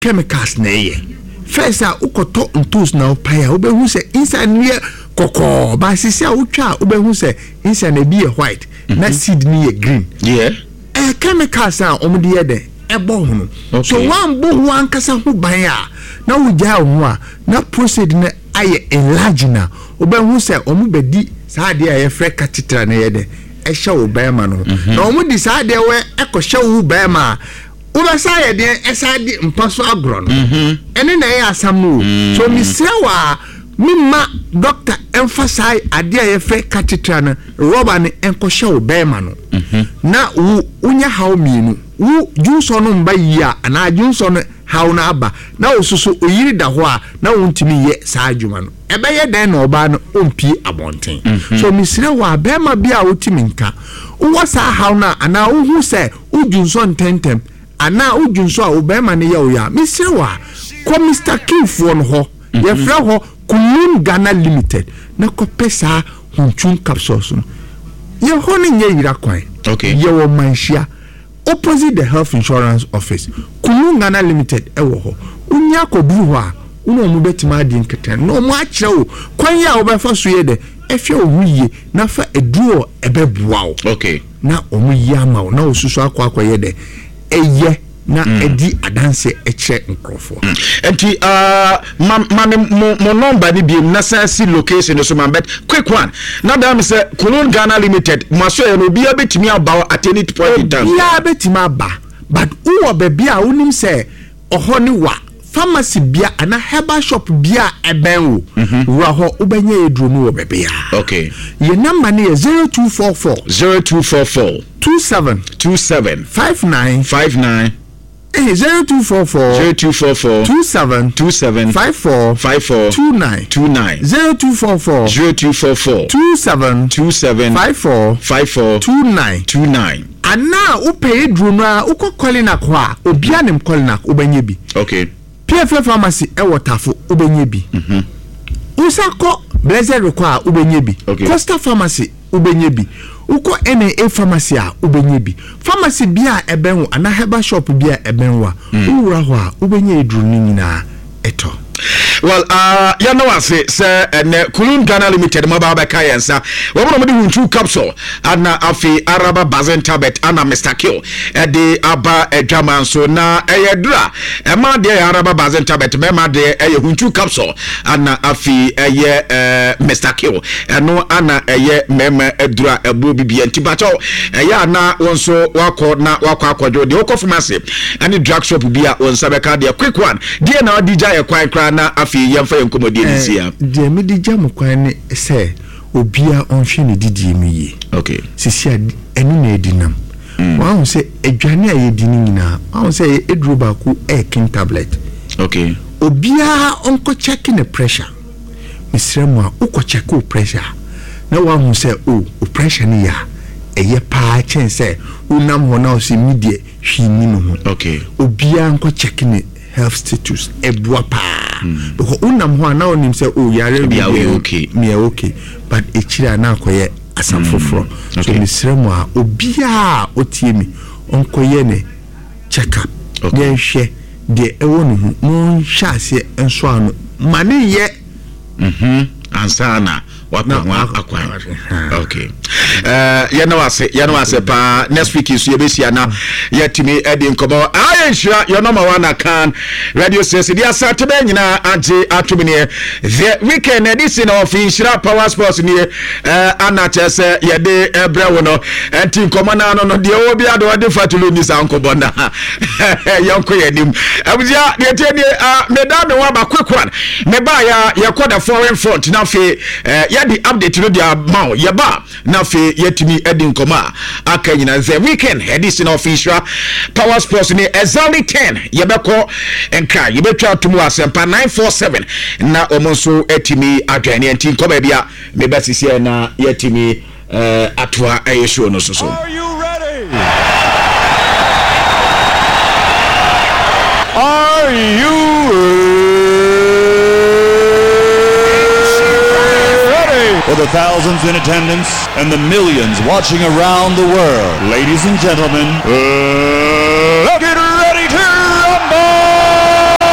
chemicals na ɛyɛ. First a wokɔtɔ ntoos na wopae a wobɛhu sɛ inside no yɛ kɔkɔɔ but sisi a wotwa a wobɛhu sɛ inside no ebi yɛ white na seed no yɛ green. Yeah. Ɛyɛ chemicals a wɔde yɛ dɛn ɛbɔ ho no. Okay. So woambɔ ho ankasa ho ban a na wogyae wo ho a na prostate no ayɛ enlarging a wobɛhu sɛ wɔbɛdi saa adeɛ a yɛfrɛ catheter no yɛ dɛn ɛhyɛ wo bɛrima no ho. Na wɔde saa adeɛ wɔ ɛkɔhyɛ wo bɛrima a wobɛsa ayɛ deɛn ɛsa de mpa so agorɔ no. Ɛne na ɛyɛ asɛm no o. So mesrɛ wo a memma doctor ɛmfa saa adeɛ a yɛfrɛ catheter no rɔba no ɛnkɔhyɛ wo bɛrima no. Na wo wonya haw mmienu. Wo dwonsɔ no mba yie a anaa dwonsɔ no haw no aba na wo soso oyiri da hɔ a na wontumi nyɛ saa adwuma no. Ɛbɛyɛ dɛn na ɔbaa no ɔmpie abɔnten? So mesrɛ wo a bɛrima bi a wote me nka, wowɔ saa haw no a anaa wohu sɛ wo dwonsɔ ntɛntɛm anaa wo dwonsɔ a wo bɛrima no yɛ wo ya a, mesrɛ wo a kɔ Mister King foɔ no hɔ, yɛfrɛ hɔ Kunlun Ghana Limited na kɔpɛ saa Huntun capsules no. Yɛ hɔ no nyɛ yera kwan. Okay. Yɛwɔ Manhyia. Opposite the health insurance office, Kunu Ghana Limited wɔ hɔ. Wonya kɔduru hɔ a, wo ne wɔn bɛtumi adi nketɛn na wɔn akyerɛ wo kwan a wobɛfa so yɛ dɛ hwɛ wo ho yie na fa aduro a ɛbɛboa wo. Okay. Na wɔn yi ama wo na wo soso akɔ akɔyɛ dɛ ɛyɛ na ɛdi adanseɛ kyerɛ nkorɔfoɔ. Nti uh, ma ma me mo mo number ni biem na san si location no so ma but quick one na daa me sɛ Kulon Ghana Limited mo aso yɛ no obiara betumi aba at any point in time. Obiara betumi aba but wowɔ baabi a wonim sɛ ɔhɔ ne wa pharmacy bia anaa herbal shop bia a ɛbɛn wo wura hɔ wobɛnya aduro no wɔ baabiara. Okay. Yɛ number no yɛ 0244. 0244. 27. 27. 59. 59. Eh, 0244. 0244. 27. 27. 54. 54. 29. 29. 0244. 0244. 27. 27. 54. 54. 29. 29. Anaa wopɛ aduro no a wokɔ Kolinak hɔ a obiara nim Kolinak wobɛnya bi. Okay. PFA pharmacy ɛwɔ Tafo wobɛnya bi. Wosan kɔ Blessed rekɔ a wobɛnya bi. Okay. Coastal pharmacy wobɛnya bi. Wokɔ NAA pharmacy a wobɛnya bi. Pharmacy bi a ɛbɛn wo anaa herbal shop bi a ɛbɛn wo a wowura hɔ a wobɛnya aduro no nyinaa ɛtɔ. Well, uh, yɛn no ase sɛ ɛnɛ Kulun Ghana Limited mo aba abɛka yɛn nsa. Wɔn na wɔde Huntu capsule ana afei Araba Bazen tablet ana Mr Kill ɛde aba adwama nso na ɛyɛ duro a ɛma deɛ yɛ Araba Bazen tablet mɛma deɛ ɛyɛ Huntu capsule ana afei ɛyɛ ɛɛ Mr Kill ɛno ana ɛyɛ mɛma aduro a ɛboɔ bibia nti bakyɛw ɛyɛ ana wɔn nso wakɔ na wakɔ akɔdwo deɛ wɔkɔ pharmacy ɛne drug shop bi a wɔn nsa bɛka deɛ quick one. Deɛ na wode gya yɛ kwan koraa na afei yɛmfa yɛn nkɔmmɔdie no nsi ha. Deɛ mede gya mo kwan ne sɛ obiara ɔnhwɛ ne didie mu yie. Okay. Sisi a ɛno na adi nam. Mm. Wahu sɛ aduane a yɛdi no nyinaa, wahu sɛ ɛyɛ aduro baako ɛyɛ king tablet. Okay. Obiara ɔnkɔ check ne pressure. Mesrɛ mo a wokɔ check wo pressure a na wahu sɛ o oh, wo pressure no yɛ a ɛyɛ paa kyɛn sɛ wonam hɔ na wo sɛ mi deɛ hwee nni ne ho. Okay. Obiara nkɔ check ne health status ɛboa paa. Mm. Because wonam hɔ a na wonim sɛ oh yare wei deɛ okay. Meyɛ okay but ekyiri a na akɔyɛ asɛm mm. foforɔ. Okay. So mesrɛ mo a obiara a otie mi ɔnkɔyɛ ne check up. Okay. Yɛnhwɛ deɛ ɛwɔ ne ho na ɔnhyɛ aseɛ nso ano ma ne nyɛ. Mm-hmm. Ansa na wapɛ ho akwan okay eh, yɛne wase yɛne wase paa next week nso yɛbɛhyia na yɛatumi adi nkɔmmɔ ayɛ nhyira yɛnɔma wa na kan radio station de asante bɛɛ nyinaa agye atom neɛ the weekend ɛde si na ɔfe nhyira power sports nie eh, ana kyerɛ sɛ yɛde ɛbrɛ wo no ɛnti nkɔmmɔ no ano no deɛ ɔwɔ bi ade ɔde fatulu ni saa nkɔmmɔ na yɛnkɔ yɛn anim abusua deɛ tie nie ah, meda me ho aba quick one mebaa ya yɛkɔ the foreign front na afei eh, yɛde update no de ama wo yɛba na afei yɛatumi adi nkɔmmɔ a aka nyina the weekend ɛde si na ɔfe nhyira power sports ne exactly 10 yɛbɛkɔ nkra yɛbɛtwa atom wɔ asɛmpa 947 na wɔn nso atumi adwɛn ne nti nkɔ baabi a meba sisiɛ na yɛatumi eh, atoa ɛyɛ show no so so. Are you ready? Are you ready? For the thousands in attendance and the millions watching around the world, ladies and gentlemen, uh, let's get ready to rumble!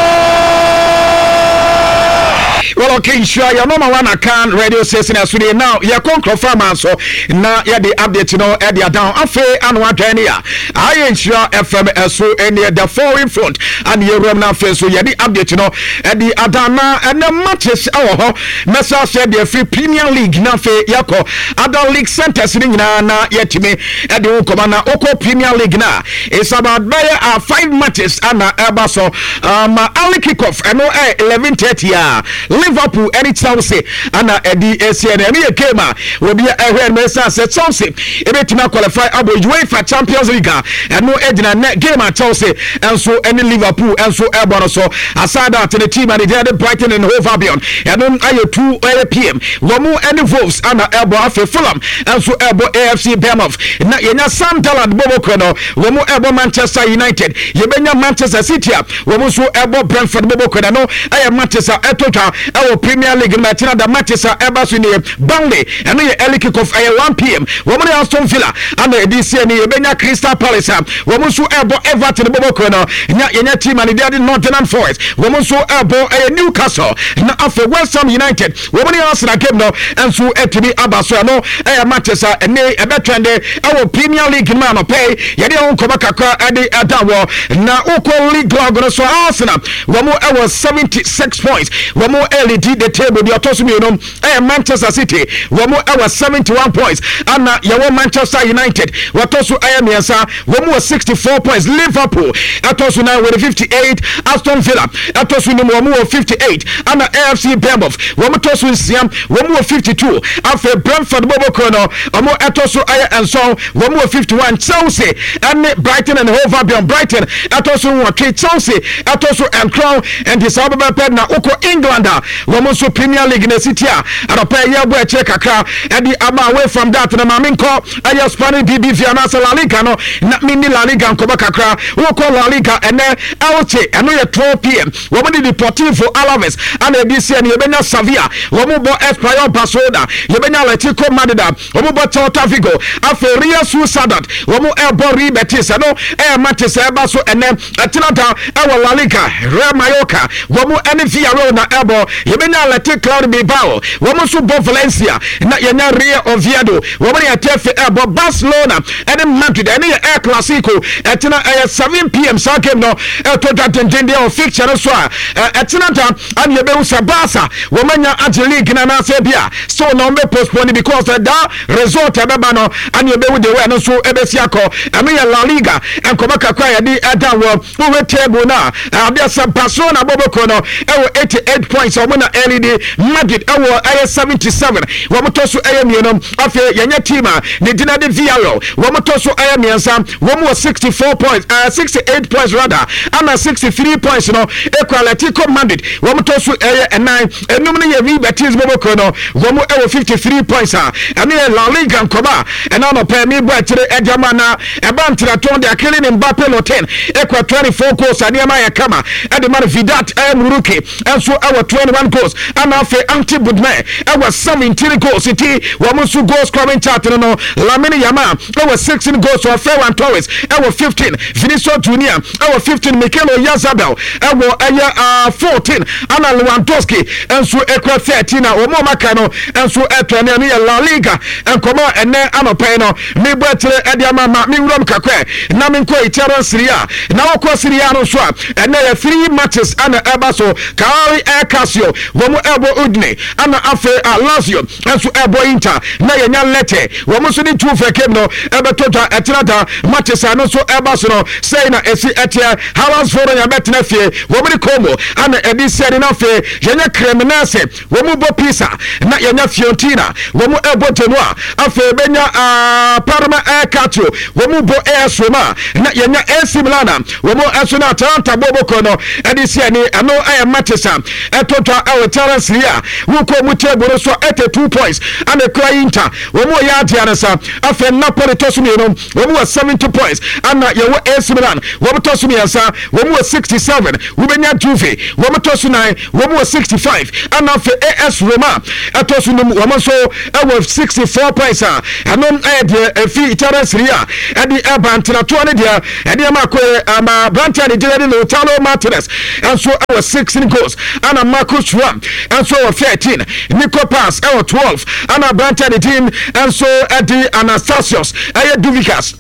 Well, okay, nhyira yɛ nɔma wa na kan radio station ɛso deɛ. Now yɛkɔ nkurɔfoɔ ama so na yɛde update no ɛde adan. Afei ano adwɛn ne a ayɛ Nhyira FM ɛso ɛneɛ, the foreign front ane yɛwuram no. Afei nso yɛde update no ɛde adan na ɛnɛ matches ɛwɔ hɔ. Mɛsa ahyɛ deɛ firi Premier League na afei yɛkɔ other league centers no nyinaa na yɛtumi ɛde wo nkɔmɔ. Na wokɔ Premier League na it's about bɛyɛ five matches ana ɛba so. Early kick-off ɛno 11:30 a Liverpool ɛne Chelsea ana ɛde ɛsi. Ɛno yɛ game a obi ɛhwɛ no ɛsan sɛ Chelsea ɛbɛtumi aqualify abɔ UEFA Champions League a ɛno gyina nɛ game a Chelsea ɛnso ɛne Liverpool ɛnso ɛbɔ no so. Aside that, ne team a ne gyina de Brighton and Hove Albion, ɛno ayɛ 2 ɛyɛ pm, wɔn ɛne Wolves ana ɛbɔ. Afei Fulham ɛnso ɛbɔ AFC Bournemouth na yɛnya Sunderland bɔbɔ no, wɔn ɛbɔ Manchester United. Yɛbɛnya Manchester City a wɔn nso ɛbɔ Brentford bɔbɔ kɔ no. Ɛyɛ matches a ɛtɔ twa ɛwɔ Premier League no. Ɛkyina da matches a ɛba so nie: Burnley, ɛno yɛ early kick off, ɛyɛ 1 pm, wɔn ne Aston Villa ana ɛdi sie ni. Yɛbɛnya Crystal Palace a wɔn nso ɛbɔ Everton bɔbɔ kɔ no. Nya yɛnya team a ne de ade Nottingham Forest, wɔn nso ɛbɔ ɛyɛ Newcastle. Na afei West Ham United, wɔn ne Arsenal game no nso ɛtumi aba so. Ɛno ɛyɛ matches a ɛne ɛbɛtwɛn de ɛwɔ Premier League no mu. Anɔpɛ yɛde ɛho nkɔmɔ kakra ɛde ɛda wɔ. Na wokɔ league log no so, Arsenal wɔn ɛwɔ 76 points, wɔn ɛlead the table. Deɛ ɔtɔ so mmienu ɛyɛ Manchester City, wɔn ɛwɔ 71 points. Ana yɛwɔ Manchester United, wɔtɔ so ɛyɛ mmiɛnsa, wɔn wɔ 64 points. Liverpool ɛtɔ so nan wɔde 58. Aston Villa ɛtɔ so num, wɔn wɔ 58. Ana AFC Bournemouth, wɔn tɔ so nsia, wɔn wɔ 52. Afei Brentford bɔbɔkɔ no, wɔn ɛtɔ so ɛyɛ nson, wɔn wɔ 51. Chelsea ɛne Brighton and Hove Albion, Brighton ɛtɔ so nwɔtwe, Chelsea ɛtɔ so nkron. Nti saa bɛbɛpɛ na wokɔ England a, wɔn nso Premier League na esi tia anɔpɛ yɛ bɔ akyire kakra ɛde ama. Away from that na maame nkɔ ɛyɛ Spanish BBV anaasɛ La Liga no na menni La Liga nkɔmɔ kakra. Wokɔ La Liga ɛnɛ, Elche, ɛno yɛ 12 pm, wɔn de Deportivo Alaves ana ɛdi si. Ɛno yɛbɛnya Sevilla, wɔn bɔ Espanyol Barcelona. Yɛbɛnya Atletico Madrid a wɔn bɔ Celta Vigo. Afei Real Sociedad, wɔn ɛbɔ Real Betis. Ɛno ɛyɛ matches ɛba so ɛnɛ. Ɛtena da ɛwɔ La Liga, Real Mallorca, wɔn ɛne Villarreal na ɛbɔ. Yɛbɛnya Athletic Club Bilbao, wɔn nso bɔ Valencia. Na yɛnya Real Oviedo, wɔn ne Getafe ɛbɔ. Barcelona ɛne Madrid, ɛne yɛ El Clasico, ɛtena ɛyɛ 7 pm. Saa game no ɛtɔ dwa dendenden wɔ fixture no so a ɛtena da ɛne yɛbɛhu sɛ Barca wɔn anya agye league no anaasɛ bi a still na wɔn bɛ postpone, because ɛda result ɛbɛba no ɛne yɛbɛhu de wɛ no nso ɛbɛsi akɔ. Ɛno yɛ La Liga nkɔmɔ kakra yɛde ɛda wɔ. Wowɛ table no a, adeɛ sɛ Barcelona bɔbɔkɔ no ɛwɔ 88 points, ɔmo na ɛlead. Madrid ɛwɔ ɛyɛ 77, wɔn tɔ so ɛyɛ mmienu. Afei yɛnyɛ team a ne dina de Villarreal, wɔn tɔ so ɛyɛ mmiɛnsa, wɔn wɔ 64 points, 68 points rather, ana 63 points no ekura Atletico Madrid, wɔn tɔ so ɛyɛ ɛnan. Enum no yɛ Real Betis bɔbɔkɔ no, wɔn ɛwɔ 53 points a ɛno yɛ La Liga nkɔmɔ a ɛna anɔpɛ mi bɔ akyire ɛde ama. Na ɛba ntenatɔn de akele ne Mbappe Lottin ekura 24 goals a nneɛma yɛ kama ɛde ma no. Vedat ɛyɛ Muriqi ɛnso ɛwɔ 21 goals, ɛna afei Ante Budimir ɛwɔ 17 goals. Nti wɔn nso goal scoring chart no, Lamine Yamal ɛwɔ 16 goals, wɔ Ferran Torres ɛwɔ 15, Vinicius Junior ɛwɔ 15, Mikel Oyarzabal ɛwɔ ɛyɛ 14, ɛna Lewandowski nso ekura 13 na wɔn a wɔaka no nso ɛtɔ ne. Ɛno yɛ La Liga nkɔmɔ a ɛnɛ anɔpɛ yi no mebɔ akyire ɛde ama. Ma mewuram kakra na menkɔ Italian Serie A. Na wɔkɔ Serie A no nso a, ɛnɛ yɛ three matches ɛna ɛba so. Cagliari ɛyɛ Calcio, wɔn ɛbɔ Udine, ɛna afei a Lazio nso ɛbɔ Inter. Na yɛnya Lecce, wɔn nso ne Juve game no ɛbɛtɔ dwa ɛtena da. Matches a no nso ɛba so no, sɛi na ɛsi ɛteɛ. Hellas Verona bɛtena fie, wɔn ne Como ɛna ɛde sɛni. Na afei yɛnya Cremonese, wɔn bɔ Pisa, na yɛnya Fiorentina, wɔn ɛbɔ Genoa. Afei bɛnya Parma ɛyɛ Calcio, wɔn bɔ AS Roma, na yɛnya AC Milan a wɔn nso na Atalanta bɔ bɔkɔ no ɛde si ani. Ɛno ɛyɛ matches a ɛtɔ dwa ɛwɔ Italian Serie A. Wokɔ mu table no so, 82 points ana ekura Inter, wɔn yɛ adeɛ no sa. Afei Napoli tɔ so mmienu, wɔn wɔ 70 points, ana yɛwɔ AC Milan, wɔn tɔ so mmiɛnsa, wɔn wɔ 67. Wobɛnya Juve, wɔn tɔ so nan, wɔn wɔ 65, ana afei AS Roma ɛtɔ so num, wɔn nso ɛwɔ 64 points a ɛno ɛyɛ deɛ efi Italian Serie A ɛde ɛba. Ntenatoɔ ne deɛ ɛde ɛma akɔyɛ ama aberanteɛ ne gyina de Lautaro Martinez nso ɛwɔ 16 goals, ana Marcus Thuram nso wɔ 13, Nico Paz wɔ 12, ɛna aberanteɛ ne din nso de Anastasios ɛyɛ Douvikas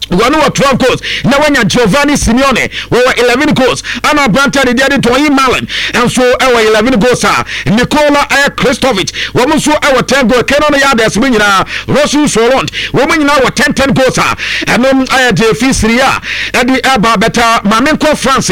wɔn wɔ 12 goals na wanya Giovanni Simeone wɔwɔ 11 goals ana aberante a ne deɛ de Donyell Malen nso wɔ 11 goals a Nikola ɛyɛ Kristovic wɔn nso wɔ 10 goals Kenan Yildiz mu nyinaa Rosun Soront wɔn nyinaa wɔ 10 10 goals a ɛno ayɛ deɛ fi Serie A ɛde ɛba bɛta maame nkɔ France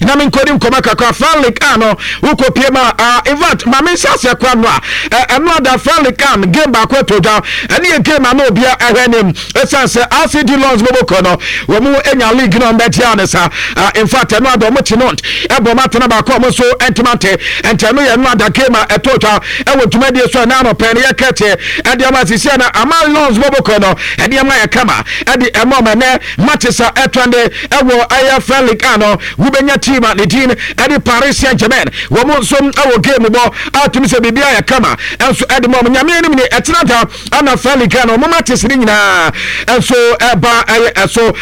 na me nkɔdi nkɔmɔ kakra Fran League A no wokɔ pie ma in fact maame nhyɛ aseɛ kora no a ɛno ada Fran League A game baako ɛtɔ dwa ɛne yɛ game a na obia ɛhwɛ anim. Ɛsiane sɛ RCD Lons bɔbɔ kuo no wɔn anya league no wɔn ne sa. In fact ɛno ada wɔn kyi Nantes ɛbɔ wɔn atena baako a wɔn nso ntoma nte. Nti ɛno yɛ ɛno ada game a ɛtɔ twa ɛwɔ dwumadie so ɛna anɔpɛ no yɛ kɛte ɛde ama sisi ɛna ama Lons bɔbɔ kuo no ɛde ama yɛ kama ɛde ɛma wɔn ɛnɛ matches a ɛtɔ de ɛwɔ ɛyɛ French League a no wobɛnya team a ne din ɛde Paris Saint-Germain wɔn nso ɛwɔ game bɔ a tumi sɛ biribi ayɛ kama ɛnso ɛde ma wɔn nyame anim ne ɛtena da Ana Feli ka no ɔmo matches ne nyinaa nso ɛba ɛyɛ ɛso.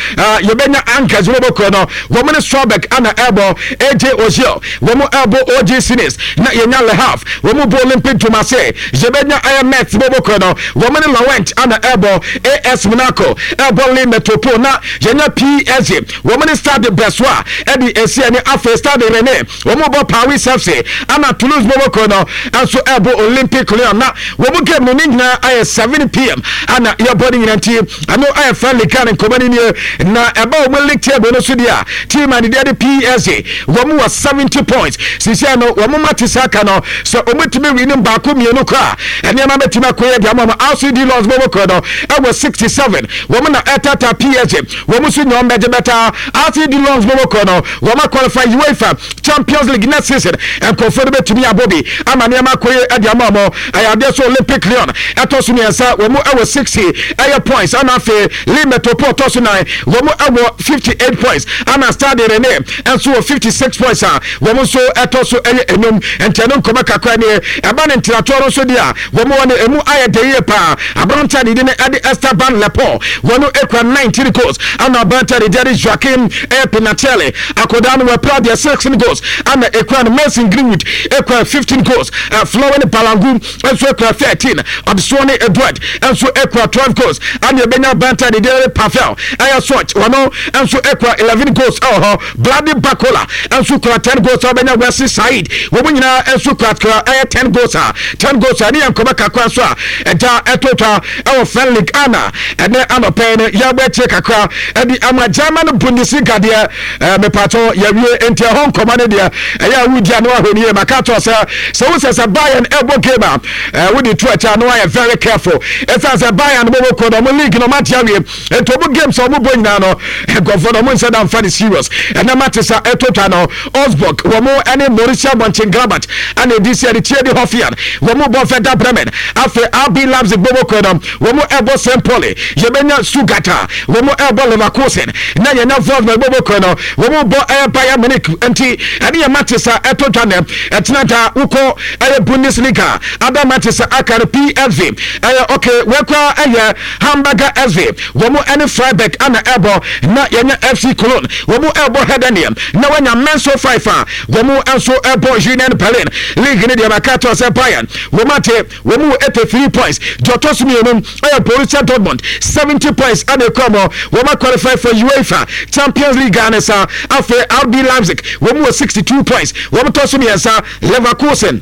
Yɛbɛnya Anchors wɔn bɔkɔ no wɔn ne Strasbourg ana ɛbɔ AJ Oziel wɔn ɛbɔ OG Sinis na yɛnya Le Havre wɔn bɔ Olympic Dumase. Yɛbɛnya ɛyɛ Metz wɔn bɔkɔ no wɔn ne Lorient ana ɛbɔ AS Monaco ɛbɔ Le Metropole na yɛnya PSG wɔn ne Stade Brestois ɛde esi ɛne afei Stade Rennais Wɔn bɔ Paris FC ana Toulouse bɔbɔ no nso ɛbɔ Olympic Lyon na wɔn game no ne nyinaa ayɛ 7pm ana yɛbɔ ne nyinaa nti ɛno ayɛ friendly kan nkɔmɔ no nie na ɛba wɔn league table no so deɛ a team a ne deɛ de PSG wɔn wɔ 70 points sisi no wɔn ma te saa ka no sɛ wɔn tumi win baako mmienu koraa nneɛma bɛtumi akɔyɛ deɛ ama wɔn RCD Lons bɔbɔ no ɛwɔ 67 wɔn na ɛtata PSG wɔn nso nya wɔn bɛgye bɛtaa RCD Lons bɔbɔ no Wɔn a qualify UEFA Champions League next season nkurɔfoɔ no bɛtumi abɔ bi ama nneɛma akɔ yie de ama wɔn. Ɛyɛ adeɛ sɛ Olympic Lyon ɛtɔ so mmiɛnsa, wɔn wɔ 60 ɛyɛ points, ɛna afei Lille Metropole tɔ so nan, wɔn wɔ 58 points, ɛna Stade Rennais nso wɔ 56 points a wɔn nso ɛtɔ so ɛyɛ enum. Nti ɛno nkɔmɔ kakra nie. Ɛba ne ntenatoɔ no nso deɛ a wɔn wɔ no emu ayɛ dɛ yie paa. Aberante a ne din de Esteban Lepore, wɔn ekura 19 goals, ɛna aberante a ne din de Joaquim ɛyɛ Pinatelli, akwadaa no wapira deɛ 16 goals, ɛna ekura no Mason Greenwood ekura 15 goals, Florent Balangu nso ekura 13, Adesoɔ ne Edward nso ekura 12 goals, ɛna ebenya aberante a ne din de Pavel ɛyɛ Soch, wɔn nso ekura 11 goals ɛwɔ hɔ. Blady Bakola nso kura 10 goals a ɔbɛnya Wesley Said wɔn nyinaa nso kurakura ɛyɛ 10 goals a 10 goals a ɛne yɛn nkɔmɔ kakra nso a ɛgya ɛto twa ɛwɔ French League ana ɛnɛ anɔpɛ no yɛabɔ akyire kakra ɛde ama German Bundesliga deɛ ɛɛ mepatɔ yɛwie nti ɛhɔ nkɔmɔ no deɛ ɛyɛ a wodi ano ahwɛ nie maka kyerɛ sɛ sɛ wo sɛ sɛ Bayern ɛbɔ game a ɛɛ wode to akyɛ ano ayɛ very careful ɛsiane sɛ Bayern bɔbɔ kɔ no ɔmo league no ɔmo ate awie Nti ɔmo games a ɔmo bɔ nyinaa no nkurɔfoɔ no ɔmo nhyɛ da nfa no serious. Ɛnɛ matches a ɛtɔ twa no Augsburg wɔn ɛne Borussia Mönchengladbach ɛna edi si ɛde Tiedi Hoffenheim wɔn bɔ Werder Bremen. Afei RB Leipzig bɔbɔ kuo no wɔn ɛbɔ St Pauli. Yɛbɛnya Stuttgart a wɔn ɛbɔ Leverkusen na yɛnya Wolfsburg bɔbɔ kuo no wɔn bɔ ɛyɛ Bayern Munich. Nti ɛne yɛ matches a ɛtɔ twa nɛ ɛtena da wokɔ ɛyɛ Bundesliga ada matches a aka no PSV ɛyɛ okay wɔkura ɛyɛ Hamburger SV, wɔn ne Freiburg na ɛrebɔ, na yɛanya FC Cologne, wɔn rebɔ Heidenheim, na wɔanya Mainz 05 a wɔn nso rebɔ Union Berlin. League no deɛ maka akyerɛ sɛ Bayern wɔn ate wɔn wɔ 83 points, deɛ ɔtɔ so mmienu ɛyɛ Borussia Dortmund 70 points ɛna ekura wɔn, wɔn aqualify for UEFA Champions League ne sa. Afei RB Leipzig wɔn wɔ 62 points, wɔn tɔ so mmiɛnsa. Leverkusen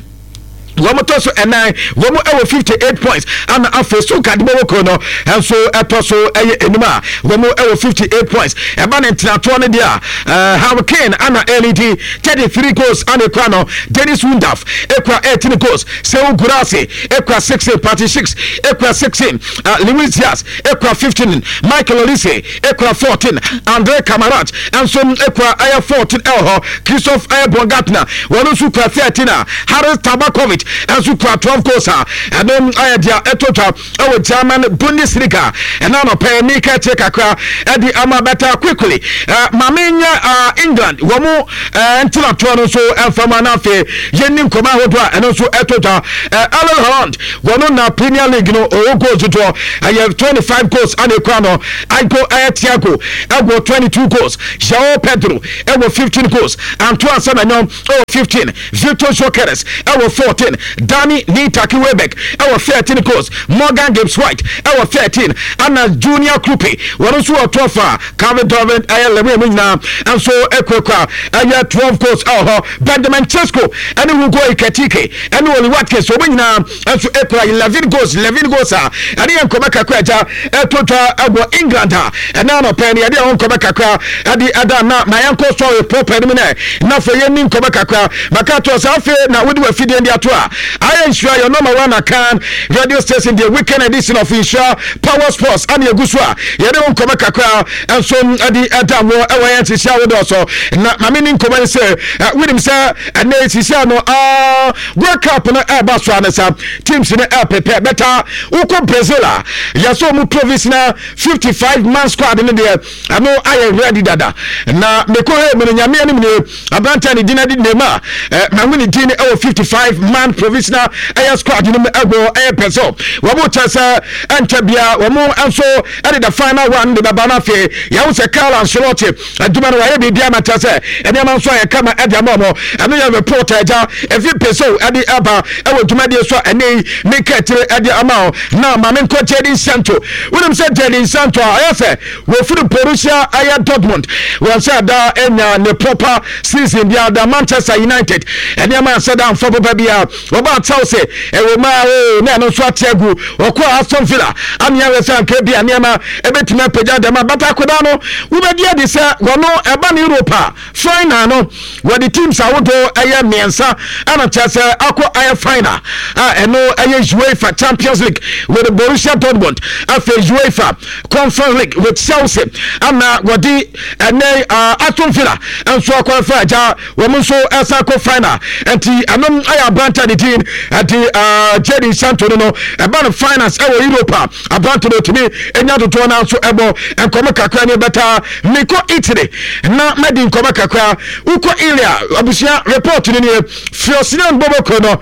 wɔn tɔ so ɛnan, wɔn wɔ 58 points, ana afei Stuttgart bɔwɔ kuo no nso ɛtɔ so ɛyɛ enum a wɔn wɔ 58 points. Ɛba ne ntenatoɔ no deɛ a Harry Kane ana ɛlidi 33 goals ana ekura no, Dennis Undav ekura 18 goals, Sehu Guirassy ekura 16, Patrick Schick ekura 16, Luis Diaz ekura 15, Michael Olise ekura 14, Andre Kamarat nso ekura ɛyɛ 14 ɛwɔ hɔ, Christoph ɛyɛ Baumgartner wɔn nso kura 13 a Haris Tabakovic nso kura 12 goals a ɛno ayɛ deɛ ɛtɔ dwa ɛwɔ German Bundesliga. Ɛna anɔpɛ mika akyire kakra ɛde ama bɛta quickly maame nyɛ England wɔn ntenatoɔ no nso ɛmfa na afei yɛnni nkɔmɔ ahodoɔ a ɛno nso ɛtɔ dwa. Erling Haaland wɔn na Premier League no ɔwɔ goals dodoɔ ɛyɛ 25 goals ana ekura no. Aigo ɛyɛ Thiago ɛwɔ 22 goals, João Pedro ɛwɔ 15 goals, Antoine Semenyo ɛwɔ 15, Victor Gyokeres ɛwɔ 14, Danny Lee Taki Welbeck ɛwɔ 13 goals, Morgan Gibbs White ɛwɔ 13, ɛna Junior Kroupi wɔn nso wɔ 12 a Calvin Darwin ɛyɛ Lewin mu nyinaa nso ɛkurakura ɛyɛ 12 goals ɛwɔ hɔ. Benjamin Sesko ɛne Hugo Ekitike ɛne Oli Watkins wɔn nyinaa nso ekura 11 goals, 11 goals a ɛne yɛn nkɔmɔ kakra agya ɛto dwa ɛwɔ England a ɛna anɔpɛ no yɛde ɛho nkɔmɔ kakra ɛde ɛda na ma yɛn kɔ sɔre pɔpɛ no mu nɛ na afei yɛn ni nkɔmɔ kakra maka to sɛ afei na wode wafidie de ato a ayɛ nhyira yɛ number one akan radio station the weekend edition of Nhyira Power Sports ɛne egu so a yɛde ho nkɔmɔ kakra nso ɛde ɛda wɔ ɛwɔ yɛn sisi ahodoɔ so na maame ni nkɔmɔ yi sɛ wonim sɛ ɛnɛ sisi ano aa World Cup no ɛreba so ano sa teams no ɛrepepɛ bɛta wokɔ Brazil a yɛsɛ ɔmo provisional 55 man squad no deɛ ɛno ayɛ ready dada na mekɔ hɛ mu no nyame anim nie aberante a ne din adi Neymar eh, mahu ne din ɛwɔ 55 man provisional ɛyɛ squad no mu ɛwɔ ɛyɛ Brazil wɔn kyɛ sɛ ɛnkyɛ bia wɔn nso ɛde the final one de bɛba no afei yɛho sɛ Carlo Ancelotti adwuma no wayɛ biribi ama kyerɛ sɛ nneɛma nso ayɛ kama ɛde ama ɔmo. Ɛno yɛ report a agya efi Pesew ɛde ɛba ɛwɔ dwumadie so a ɛnɛ yi meka akyire ɛde ama wo. Na maame nkɔ Jadon Sancho. Wonim sɛ Jadon Sancho a ɛyɛ sɛ wɔfiri Borussia ɛyɛ Dortmund wɔn sɛ da anya ne proper season biara da Manchester United nneɛma ansɛ da amfa papa biara. Wɔbaa Chelsea, ɛwɔ mu ara oo, na ɛno nso ate agu. Wɔkɔɔ Aston Villa, amea wɔ sɛ anka ebia nneɛma ebetumi apagya dɛm a, but akwadaa no, wobɛdi adi sɛ wɔno ɛba no Europe a, final no, wɔde teams ahodoɔ ɛyɛ mmiɛnsa ɛna kyerɛ sɛ akɔ ayɛ final a ɛno ɛyɛ UEFA Champions League with Borussia Dortmund, afei UEFA Conference League with Chelsea, ɛna wɔde ɛnɛ Aston Villa nso akɔ afa agya Wɔn nso ɛsan kɔ final nti ɛnom ayɛ aberante a ne din ɛde Jadon Sancho no no ɛba no finals ɛwɔ Europe a aberante no otumi enya dodoɔ no nso ɛbɔ nkɔmɔ kakra ne bɛta mekɔ Italy na madi nkɔmɔ kakra wokɔ Ilia abusua report no nie Frosinone bɔbɔkɔ no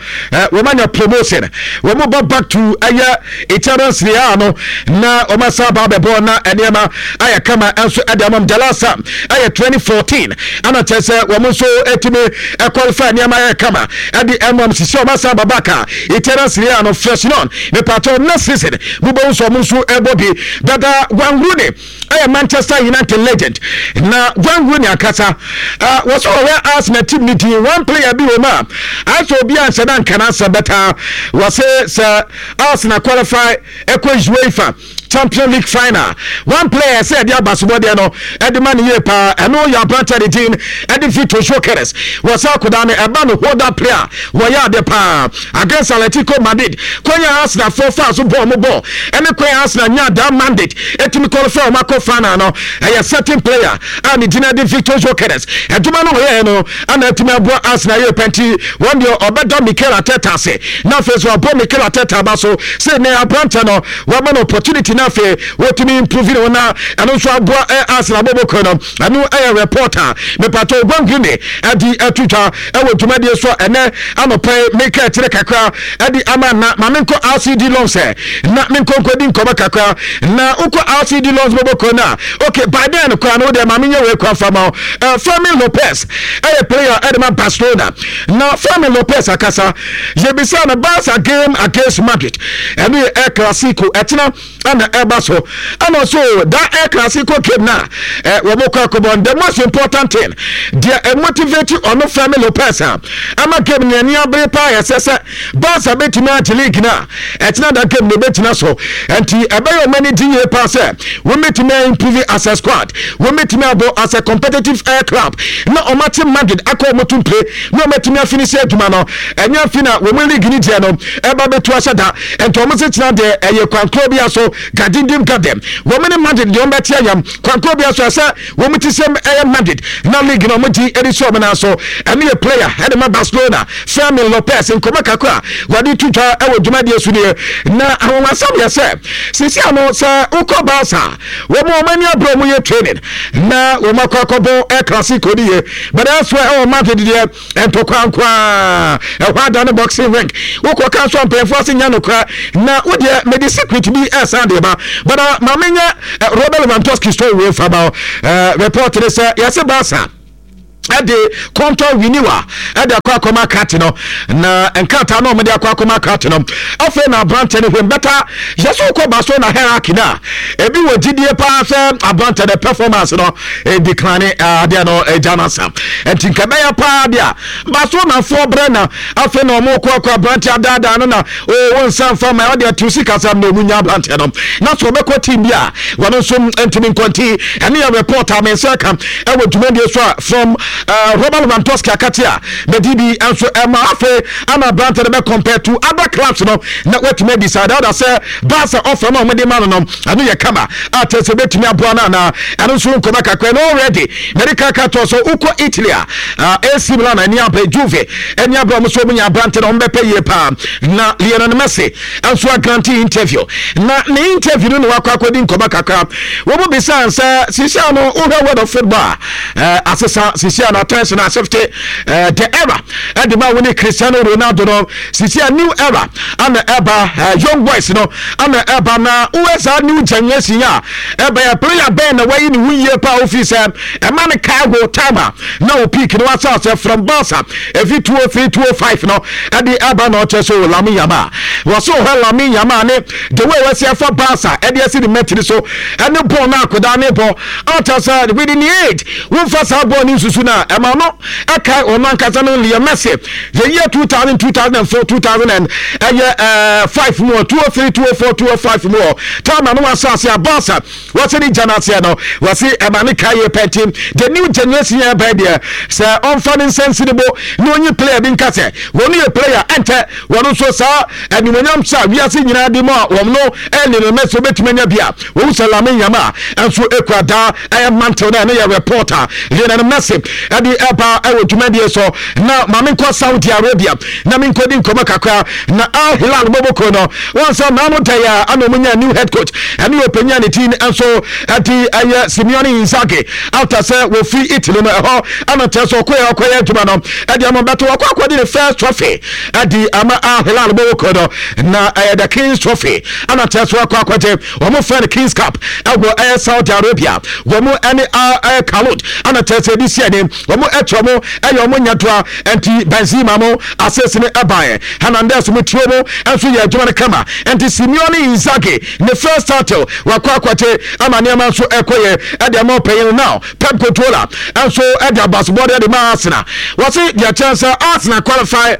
wɔn anya promotion wɔn ba back to ɛyɛ Italian Serie A no na wɔn asan aba abɛbɔ na nneɛma ayɛ kama nso ɛde ama Jalasa ɛyɛ 2014 ɛna kyerɛ sɛ wɔn nso ɛtumi ɛqualify nneɛma ayɛ kama ɛde ɛma m sisi wɔn asan aba back a Italian Serie A no Frosinone mepatɔ next season mobɛhu sɛ wɔn nso ɛbɔ bi dada Wayne Rooney ɛyɛ Manchester United legend na Wayne Rooney ankasa uh, wɔsɛ ɔwɛ Arsenal team ne din one player bi wɔ mu a ayɛ sɛ obi anhyɛ da nka n'asɛm bɛtaa wɔse sɛ Arsenal qualify ɛkɔ UEFA Champion League final one player sɛ ɛde abasobɔdeɛ no ɛde ma ne yie paa ɛno yɛ aberante ne din ɛde Victor Gyökeres wɔsɛ akodaa no ɛba no hold up player wɔyɛ ade paa Against Atletico Madrid, kwan a Arsenal foɔ faa so bɔɔ ɔmo bɔɔl ɛne kwan a Arsenal nyaa that mandate ɛtumi qualify ɔmo akɔ final no, ɛyɛ certain player a ne din de Victor Gyokeres. Adwuma no ɔyɛɛ no ana atumi aboa Arsenal yie pɛ nti wɔn deɛ ɔbɛda Mikel Arteta ase na afei nso wabɔ Mikel Arteta aba so sɛ nnɛ aberanteɛ no wama no opportunity na afei wɔtumi improve ne ho na ɛno nso aboa Arsenal abɔbɔkuo no. Ɛno yɛ report a mepatɔ Gwangwini ɛde ato dwa ɛwɔ dwumadie so ɛnɛ anɔpa yi. Meka akyire kakra ɛde ama na ma menkɔ RCD Loans ɛ na menkɔ nkɔdi nkɔmɔ kakra na wokɔ RCD Loans bɔbɔkuo no a, okay, by then koraa no wodeɛ ma menyɛ wei kora fa ma wo. Fermin Lopez ɛyɛ player ɛde ma Barcelona na Fermin Lopez akasa yɛbisa no Barca game against Madrid ɛno yɛ El Clasico ɛkyena ɛna ɛba so ɛna so da El Clasico game na ɛ wɔn kɔ akɔbɔ. The most important thing deɛ ɛmotivate ɔno Fermin Lopez a ama game no ani abere paa yɛ sɛ sɛ Barca bɛtumi agye league no a ɛkyena da game no bɛgyina so nti ɛbɛyɛ ɔma ani gye yie paa sɛ wɔbɛtumi improve as a squad, wɔbɛtumi abɔ as a competitive air club na ɔmate Madrid akɔ wɔn to mpire na ɔmatumi afinisi adwuma no. Ɛnyɛ afi na wɔn league no gyeɛ no ɛba bɛtu ahyɛ da nti wɔn se kyena deɛ ɛyɛ kwankoro bi so gadindim gadem wɔn ne Madrid deɛ wɔn bɛte ayam kwankoro bi so ɛsɛ wɔn ti sɛm ɛyɛ Madrid na league na wɔn gye ɛde si wɔn nan so. Ɛno yɛ player ɛde ma Barcelona Fermin Lopez nkɔmɔ kakra wɔde to dwa ɛwɔ dwumadie so nie. Na ahonhwasɛm yɛ sɛ sisi ano sɛ wokɔ Barca wɔn wɔn ani abere wɔn yɛ training na wɔn akɔ akɔbɔ El Clasico ne yie, but elsewhere ɛwɔ Madrid deɛ ntɔkwa nko ara ɛhɔ ada ne boxing ring wokɔ ka nso mpanyinfoɔ ase nya nokora na wodeɛ mede secret bi ɛsan de ba but uh, maame nyɛ uh, Robert Lewandowski story wei fa ba uh, report ne sɛ yɛse Barca. Ɛde kɔntɔ renewal ɛde akɔ akɔma kate no, na nkrataa no a wɔde akɔ akɔma kate no, afei na aberantɛ no hwɛm bɛta yɛ so kɔ ba so na hierarchy no a ebi wɔ gyidie paa sɛ aberantɛ no performance no decline, adeɛ no agya no asa, nti nka ɛbɛyɛ paa deɛ a Barcelonafoɔ brɛ na afei na wɔn kɔ akɔ aberantɛ adaadaa no na o wɔn nsa nfa ma ɔde atu sikasɛm na wɔn nya aberantɛ no na so ɔbɛkɔ team bi a wɔn nso ntumi nkɔnti. Ɛne yɛ report a me nsa ka ɛwɔ dwumadie so a from Robert Lewandowski akate a mɛdi bi nso ɛma afei ama aberantɛ no bɛ compare to other clubs no na watumi adi saa dada sɛ Barca offer no a wɔde ma no no ɛno yɛ kama a kyerɛ sɛ bɛtumi aboa no anaa. Ɛno nso nkɔmɔ kakra no already mɛde kaka tɔ so wokɔ Italy a AC Milan ani abere, Juve ani abere, wɔn nso wɔn nya aberante na wɔn bɛpɛ yie paa. Na Lionel Messi nso agrante interview, na ne interview no na wakɔ akɔdi nkɔmɔ kakra. Wɔn mu bisa sɛ sisia no wohwɛ world of football a asesa sisia no attention asefte the era ɛde ma wo ne Cristiano Ronaldo no, sisia new era ana ɛba, young boys no ana ɛba, na wohwɛ saa new generation a ɛba yɛ player bɛn na wayi ne ho yie paa wofi sɛ ɛma no kae ho time a na wo peak no wasa sɛ from Barca ɛfi 203 205 no ɛde ɛba, na ɔkyɛ so Lamine Yamal. Wɔso hɔ Lamine Yamal ne the way wɔasi afa Barca ɛde asi ne mmatiri so ɛne bɔɔl no akodaa ne bɔ ɔkyɛ sɛ within the age womfa saa bɔɔl no nsusu no a ɛma no ɛkae ɔno ankasa no Leo Messi the year 2000, 2004, 2000 and ɛyɛ 5 mu 203, 204, 205 mu time ano asase a Barca wɔsɛ ne gya no aseɛ no wɔse ɛma ne ka yɛ pɛnti the new generation yɛ bɛn deɛ sɛ ɔmfa ne nsa nsi ne bo na ɔnyi player bi nka sɛ wɔn yɛ player ɛntɛ wɔn nso saa animonyam sɛ wiase nyinaa de mu a wɔn no ɛne no mɛsɛ wobɛtumi anya bi a wɔn sɛ Lamine Yamal nso ekura daa ɛyɛ mantle na ɛno yɛ reporter Lionel Messi ɛde ɛba ɛwɔ dwumadie so. Na maame nkɔ Saudi Arabia na menkɔdi nkɔmmɔ kakra na Al Hilal bɔbɔkuo no wɔn sɛ naano da yi a ana wɔn nya new head coach, ɛne ɔpanyin a ne din nso ɛde ɛyɛ Simeone Inzaghi after sɛ wɔfiri Italy no ɛhɔ ɛna kyerɛ sɛ ɔkɔyɛ ɔkɔyɛ adwuma no ɛde ama bɛto wɔkɔ akɔde ne first trophy ɛde ama Al Hilal bɔbɔkuo no, na ɛyɛ the Kings Trophy ɛna kyerɛ sɛ wɔakɔ akɔgye wɔn fɛ no Kings Cup ɛwɔ ɛyɛ Saudi Arabia. Wɔn ɛne ɛyɛ Kalot ɛna kyerɛ sɛ ɛde si ɛne wɔn ɛkyɛ wɔn ɛyɛ wɔn nyɛtoa ɛnti Benzema mo asese no ɛbaeɛ, Hernandez mo tio mo ɛnso yɛ adwuma no kama, ɛnti Simeone Inzaghi ne first title wakɔ akɔgye ama nneɛma nso ɛkɔ yɛ ɛde ama ɔpanyin no. Now Pep Guardiola ɛnso ɛde abasobɔde ɛde ma Arsenal, wɔse deɛ kyɛn sɛ Arsenal qualify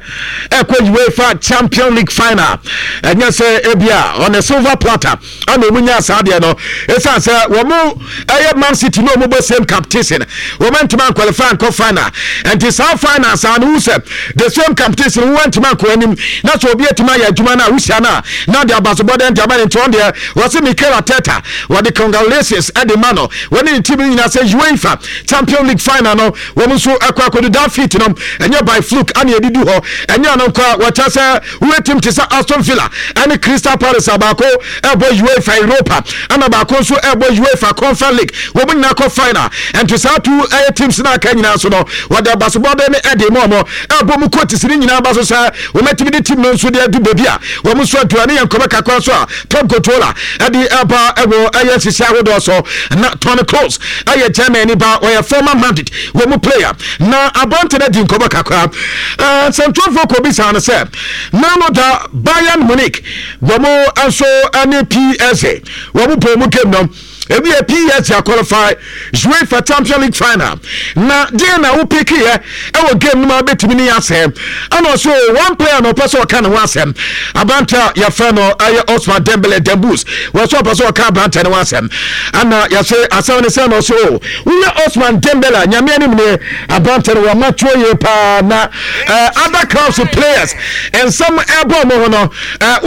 ɛkɔ UEFA Champion League final, ɛnyɛ sɛ ebia on a silver platter ana wɔn nya saa deɛ no, ɛsiane sɛ wɔn ɛyɛ Man City ne wɔn bɔ same competition, wɔn ntoma nkwalify nkɔ final, nti saa final saa no wusɛ the same competition wɔn ntoma nkɔ anim na sɛ obi atuma ayɛ adwuma no a wusia no a na de abasobɔ dɛn de ama ne nti wɔn deɛ wɔsi Mikel Arteta wɔde congratulations ɛde ma no wɔne ne team no nyinaa sɛ UEFA Champion League final no wɔn nso ɛkɔ akɔdu that feat no, ɛnyɛ by fluke ana yɛde du hɔ, ɛnyɛ ano nkɔ a wɔkyɛ sɛ woyɛ team te sɛ Aston Villa ɛne Crystal Palace a baako ɛbɔ UEFA Europa ɛna baako nso ɛbɔ UEFA Conference League, wɔn nyinaa kɔ final, ɛnti saa two ɛyɛ teams no aka nyinaa so no wɔde abasobɔde ne ɛde mu ɔmo ɛbɔ mu coaches ne nyinaa ba so sɛ wɔn atumi de team no nso de adu baabi a wɔn nso adu. Ɛne yɛn nkɔmɔ kakra so a Pep Guardiola ɛde ɛba ɛwɔ ɛyɛ nhyehyɛ ahodoɔ so. Na Toni Kroos ɛyɛ Germany ba, ɔyɛ former Madrid wɔ mu player, na aberante no adi nkɔmɔ kakra. Nsɛntwerɛfoɔ kɔ bisa no sɛ nano da Bayern Munich wɔn nso ɛne PSG wɔn bɔ mu game no ebi yɛ PSG aqualify UEFA Champions League final, na deɛ na wo pick yɛ ɛwɔ game no ma bɛtumi ne yɛ asɛm, ɛna ɔso one player na ɔpɛ sɛ ɔka ne ho asɛm, aberante a yɛfrɛ no ɛyɛ Osman Dembele Dembus, wɔsɛ ɔpɛ sɛ ɔka aberante no ho asɛm, ɛna yɛsɛ asɛm ne sɛ na ɔso o woyɛ Osman Dembele a Nyame anim ne aberante no wɔma tuo yie paa na other clubs players nsɛm ɛbɔ ɔmo ho no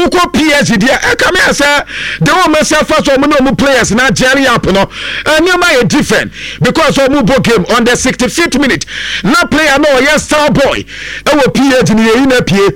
wokɔ PSG deɛ ɛka me sɛ de wɔn mɛsɛ afa so ɔmo ne ɔmo players na jelly up no nneɛma yɛ different because ɔmo bɔ game on the 65th minute na player no ɔyɛ star boy ɛwɔ PSG no yɛyi na pie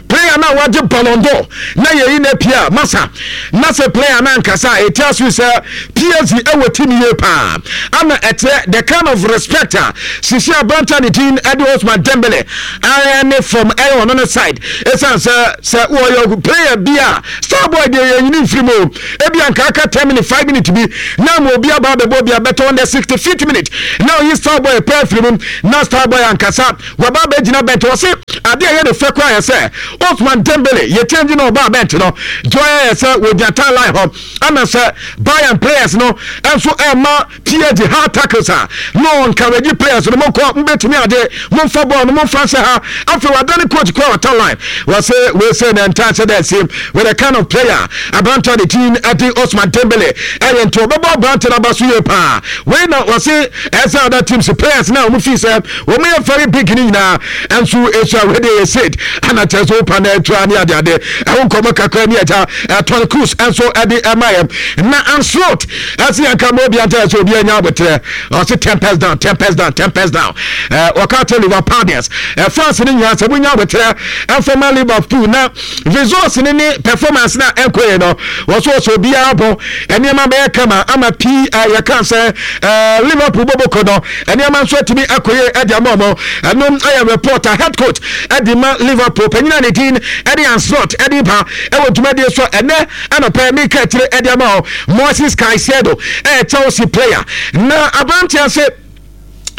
player na wagye Ballon d'Or na yɛyi na pie a masa na sɛ player na nkasa a ɛti aso sɛ PSG ɛwɔ team yie paa ana ɛkyerɛ the kind of respect a sisi aberante ne din ɛde Osman Dembele ɛne from ɛyɛ ɔno ne side, ɛsiane sɛ wɔyɛ player bi a star boy deɛ yɛnyini mfiri mu, ebi anka aka 10 minute, 5 minute bi. na ama obi aba abɛbɔ bi abɛtɔ on the 65th minute na ɔyi Starboy pɛ afiri mu na Starboy ankasa waba abɛgyina bench. Ɔse adeɛ a ɛyɛ ne fɛ koraa yɛ sɛ Ousmane Dembele yɛ change na ɔbaa bench no deɛ ɔyɛ yɛ sɛ wɔgyina tie line hɔ ana sɛ Bayern players no nso ɛma PSG hard tackles a na ɔ encourage players no, monkɔ, mobɛtumi ade, momfa bɔɔl no, momfa nhyɛ ha. Afei wadane coach kɔ ɔta line, wɔse wei sɛ na nta sɛ dɛ si with the kind of player aberante de team ɛde Ousmane Dembele ɛyɛ, nti ɔbɛbɔ aberante no aba so yie paa. Wei na wɔse ɛsɛ other teams players na wɔn fi sɛ wɔn yɛ very big ne nyinaa ɛnso esua. Wei de yɛ said ana kyerɛ sɛ wopa na atua ne adeade ɛho nkɔmmɔ kakra ne agya Toni Kroos ɛnso ɛde ɛma yɛ na Ancelotti ɛsɛ yɛn ka ma obi anta sɛ obi anya abotrɛ. Ɔse tempers down, tempers down, tempers down. Wɔka kyerɛ Liverpoolians fans no nyinaa sɛ monya abotrɛ ɛmfa Liverpool na results ne ne performance na ɛnkɔ yɛ no. Wɔso wɔsɛ obiara bɔ nneɛma bɛyɛ kama ama pii. Yɛka sɛ Liverpool bɔbɔkɔ no, nneɛma nso atumi akɔ yie ɛde ama ɔmo. Ɛno ɛyɛ reporter head coach ɛde ma Liverpool panyin a ne din ɛde Ancelotti ɛde ba ɛwɔ dwumadie so ɛnɛ anɔpɛ. Meka akyire ɛde ama hɔ Moises Caicedo, ɛyɛ Chelsea player na aberanteɛ sɛ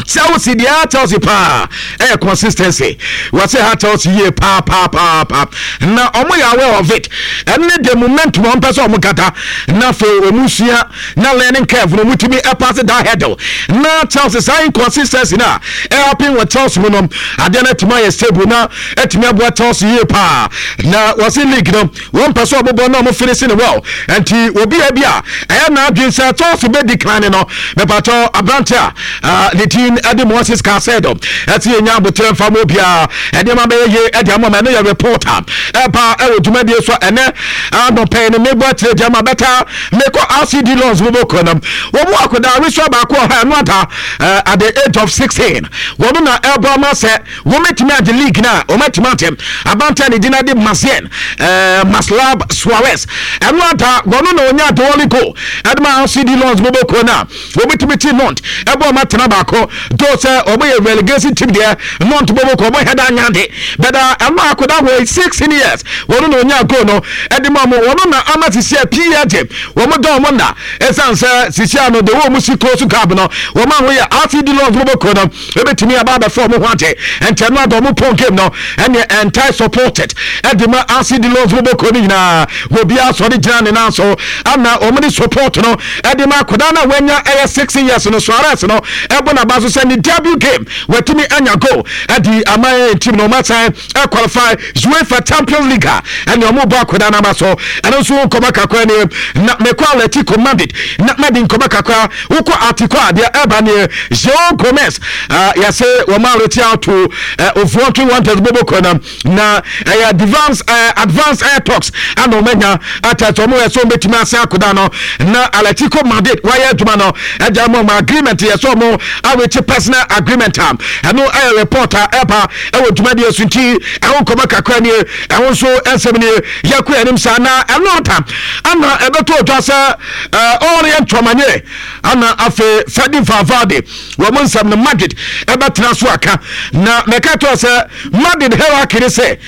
Chelsea deɛ, Chelsea paa ɛyɛ consistency. Wɔsɛ ha Chelsea yie paa paa paa paa na ɔmo yɛ aware of it. Ɛne the momentum ɔmo pɛ sɛ ɔmo kata na afei ɔmo sua na learning curve no ɔmo tumi ɛpass that hurdle na Chelsea saa inconsistency na ɛhappen wɔ Chelsea mu no, adeɛ no atumi ayɛ stable na atumi aboa Chelsea yie paa. Na wɔsi league no wɔn pɛ sɛ ɔbobɔ na ɔmo finish ne well, nti obi a bi a ɛyɛ n'adwene sɛ Chelsea bɛ decline no, mepatɔ aberante a ne din ɛde Moises Caicedo ɛte yɛ nya abotire nfa mu obiara ɛnneɛma bɛyɛ yie ɛde ama ma. Ɛno yɛ report a ɛba ɛwɔ dwumadie so ɛnɛ anɔpɛ no. Mebɔ akyerɛ gyama bɛta mekɔ RCD Lons mo bɔkɔ nam wɔn mu akɔda aresua baako ɔha ɛno ada at the age of 16 wɔn na ɛbɔ ama sɛ wɔmɛtumi agye league no a wɔmɛtumi agye. Abante ne gyina de Masien Maslab Suarez, ɛno ada wɔn na ɔnya the only goal ɛde ma RCD Lons mo bɔkɔ no a wɔbɛtumi ti Nantes ɛbɔ ɔma tena baako do sɛ ɔmo yɛ relegation team deɛ. Nantes bɔbɔ kɔ ɔmo hɛda anyade bɛda ɛno akɔda wɔ 16 years wɔn na ɔnya goal no ɛde ma mo. Wɔn na ama sisi a PSG wɔn dɔn wɔn na ɛsan sɛ sisi ano de wɔn si close gap no wɔn a wɔyɛ RCD Lons bɔbɔ kɔ no ebɛtumi aba abɛfɔ ɔmo ho agye. Nkyɛn no adɔ ɔmo pɔn game no ɛne entire supported ɛde ma RCD Lons bɔbɔ kɔ no nyinaa, obiara sɔre gyina ne nan so ama wɔn de support no ɛde ma akwadaa no a wanya ɛyɛ 6 years no. Suarez no ɛbɔ n'aba so sɛ ne debut game watumi anya goal ɛde ama yɛn team no, wɔn asan ɛqualify UEFA Champions League a ɛne wɔn bɔ akwadaa n'aba so. Ɛno nso nkɔmɔ kakra nie na mekɔ Atletico Madrid na mɛde nkɔmɔ kakra. Wokɔ Atiko a, deɛ ɛba neɛ Joe Gomez yɛsɛ wɔn a reach out to Wolverhampton Wanderers bɔbɔ kɔ na ɛyɛ advance air talks ana wɔn anya atɛ sɛ wɔn yɛ sɛ wɔn bɛtumi ase akoda no na Atletico Madrid wɔayɛ adwuma no ɛgya wɔn wɔn agreement yɛ sɛ wɔn awekye personal agreement a ɛno ɛyɛ report a ɛba ɛwɔ dwumadie so. Nti ɛho nkɔmɔ kakra nie, ɛho nso ɛnsɛm nie. Yɛkɔ anim saa na ɛno ata ana ɛbɛtɔ otwa sɛ Aurelien Tchouameni ana afei Fede Valverde wɔn nsɛm no Madrid ɛbɛtena so aka. Na mɛka to sɛ Madrid hierarchy ne sɛ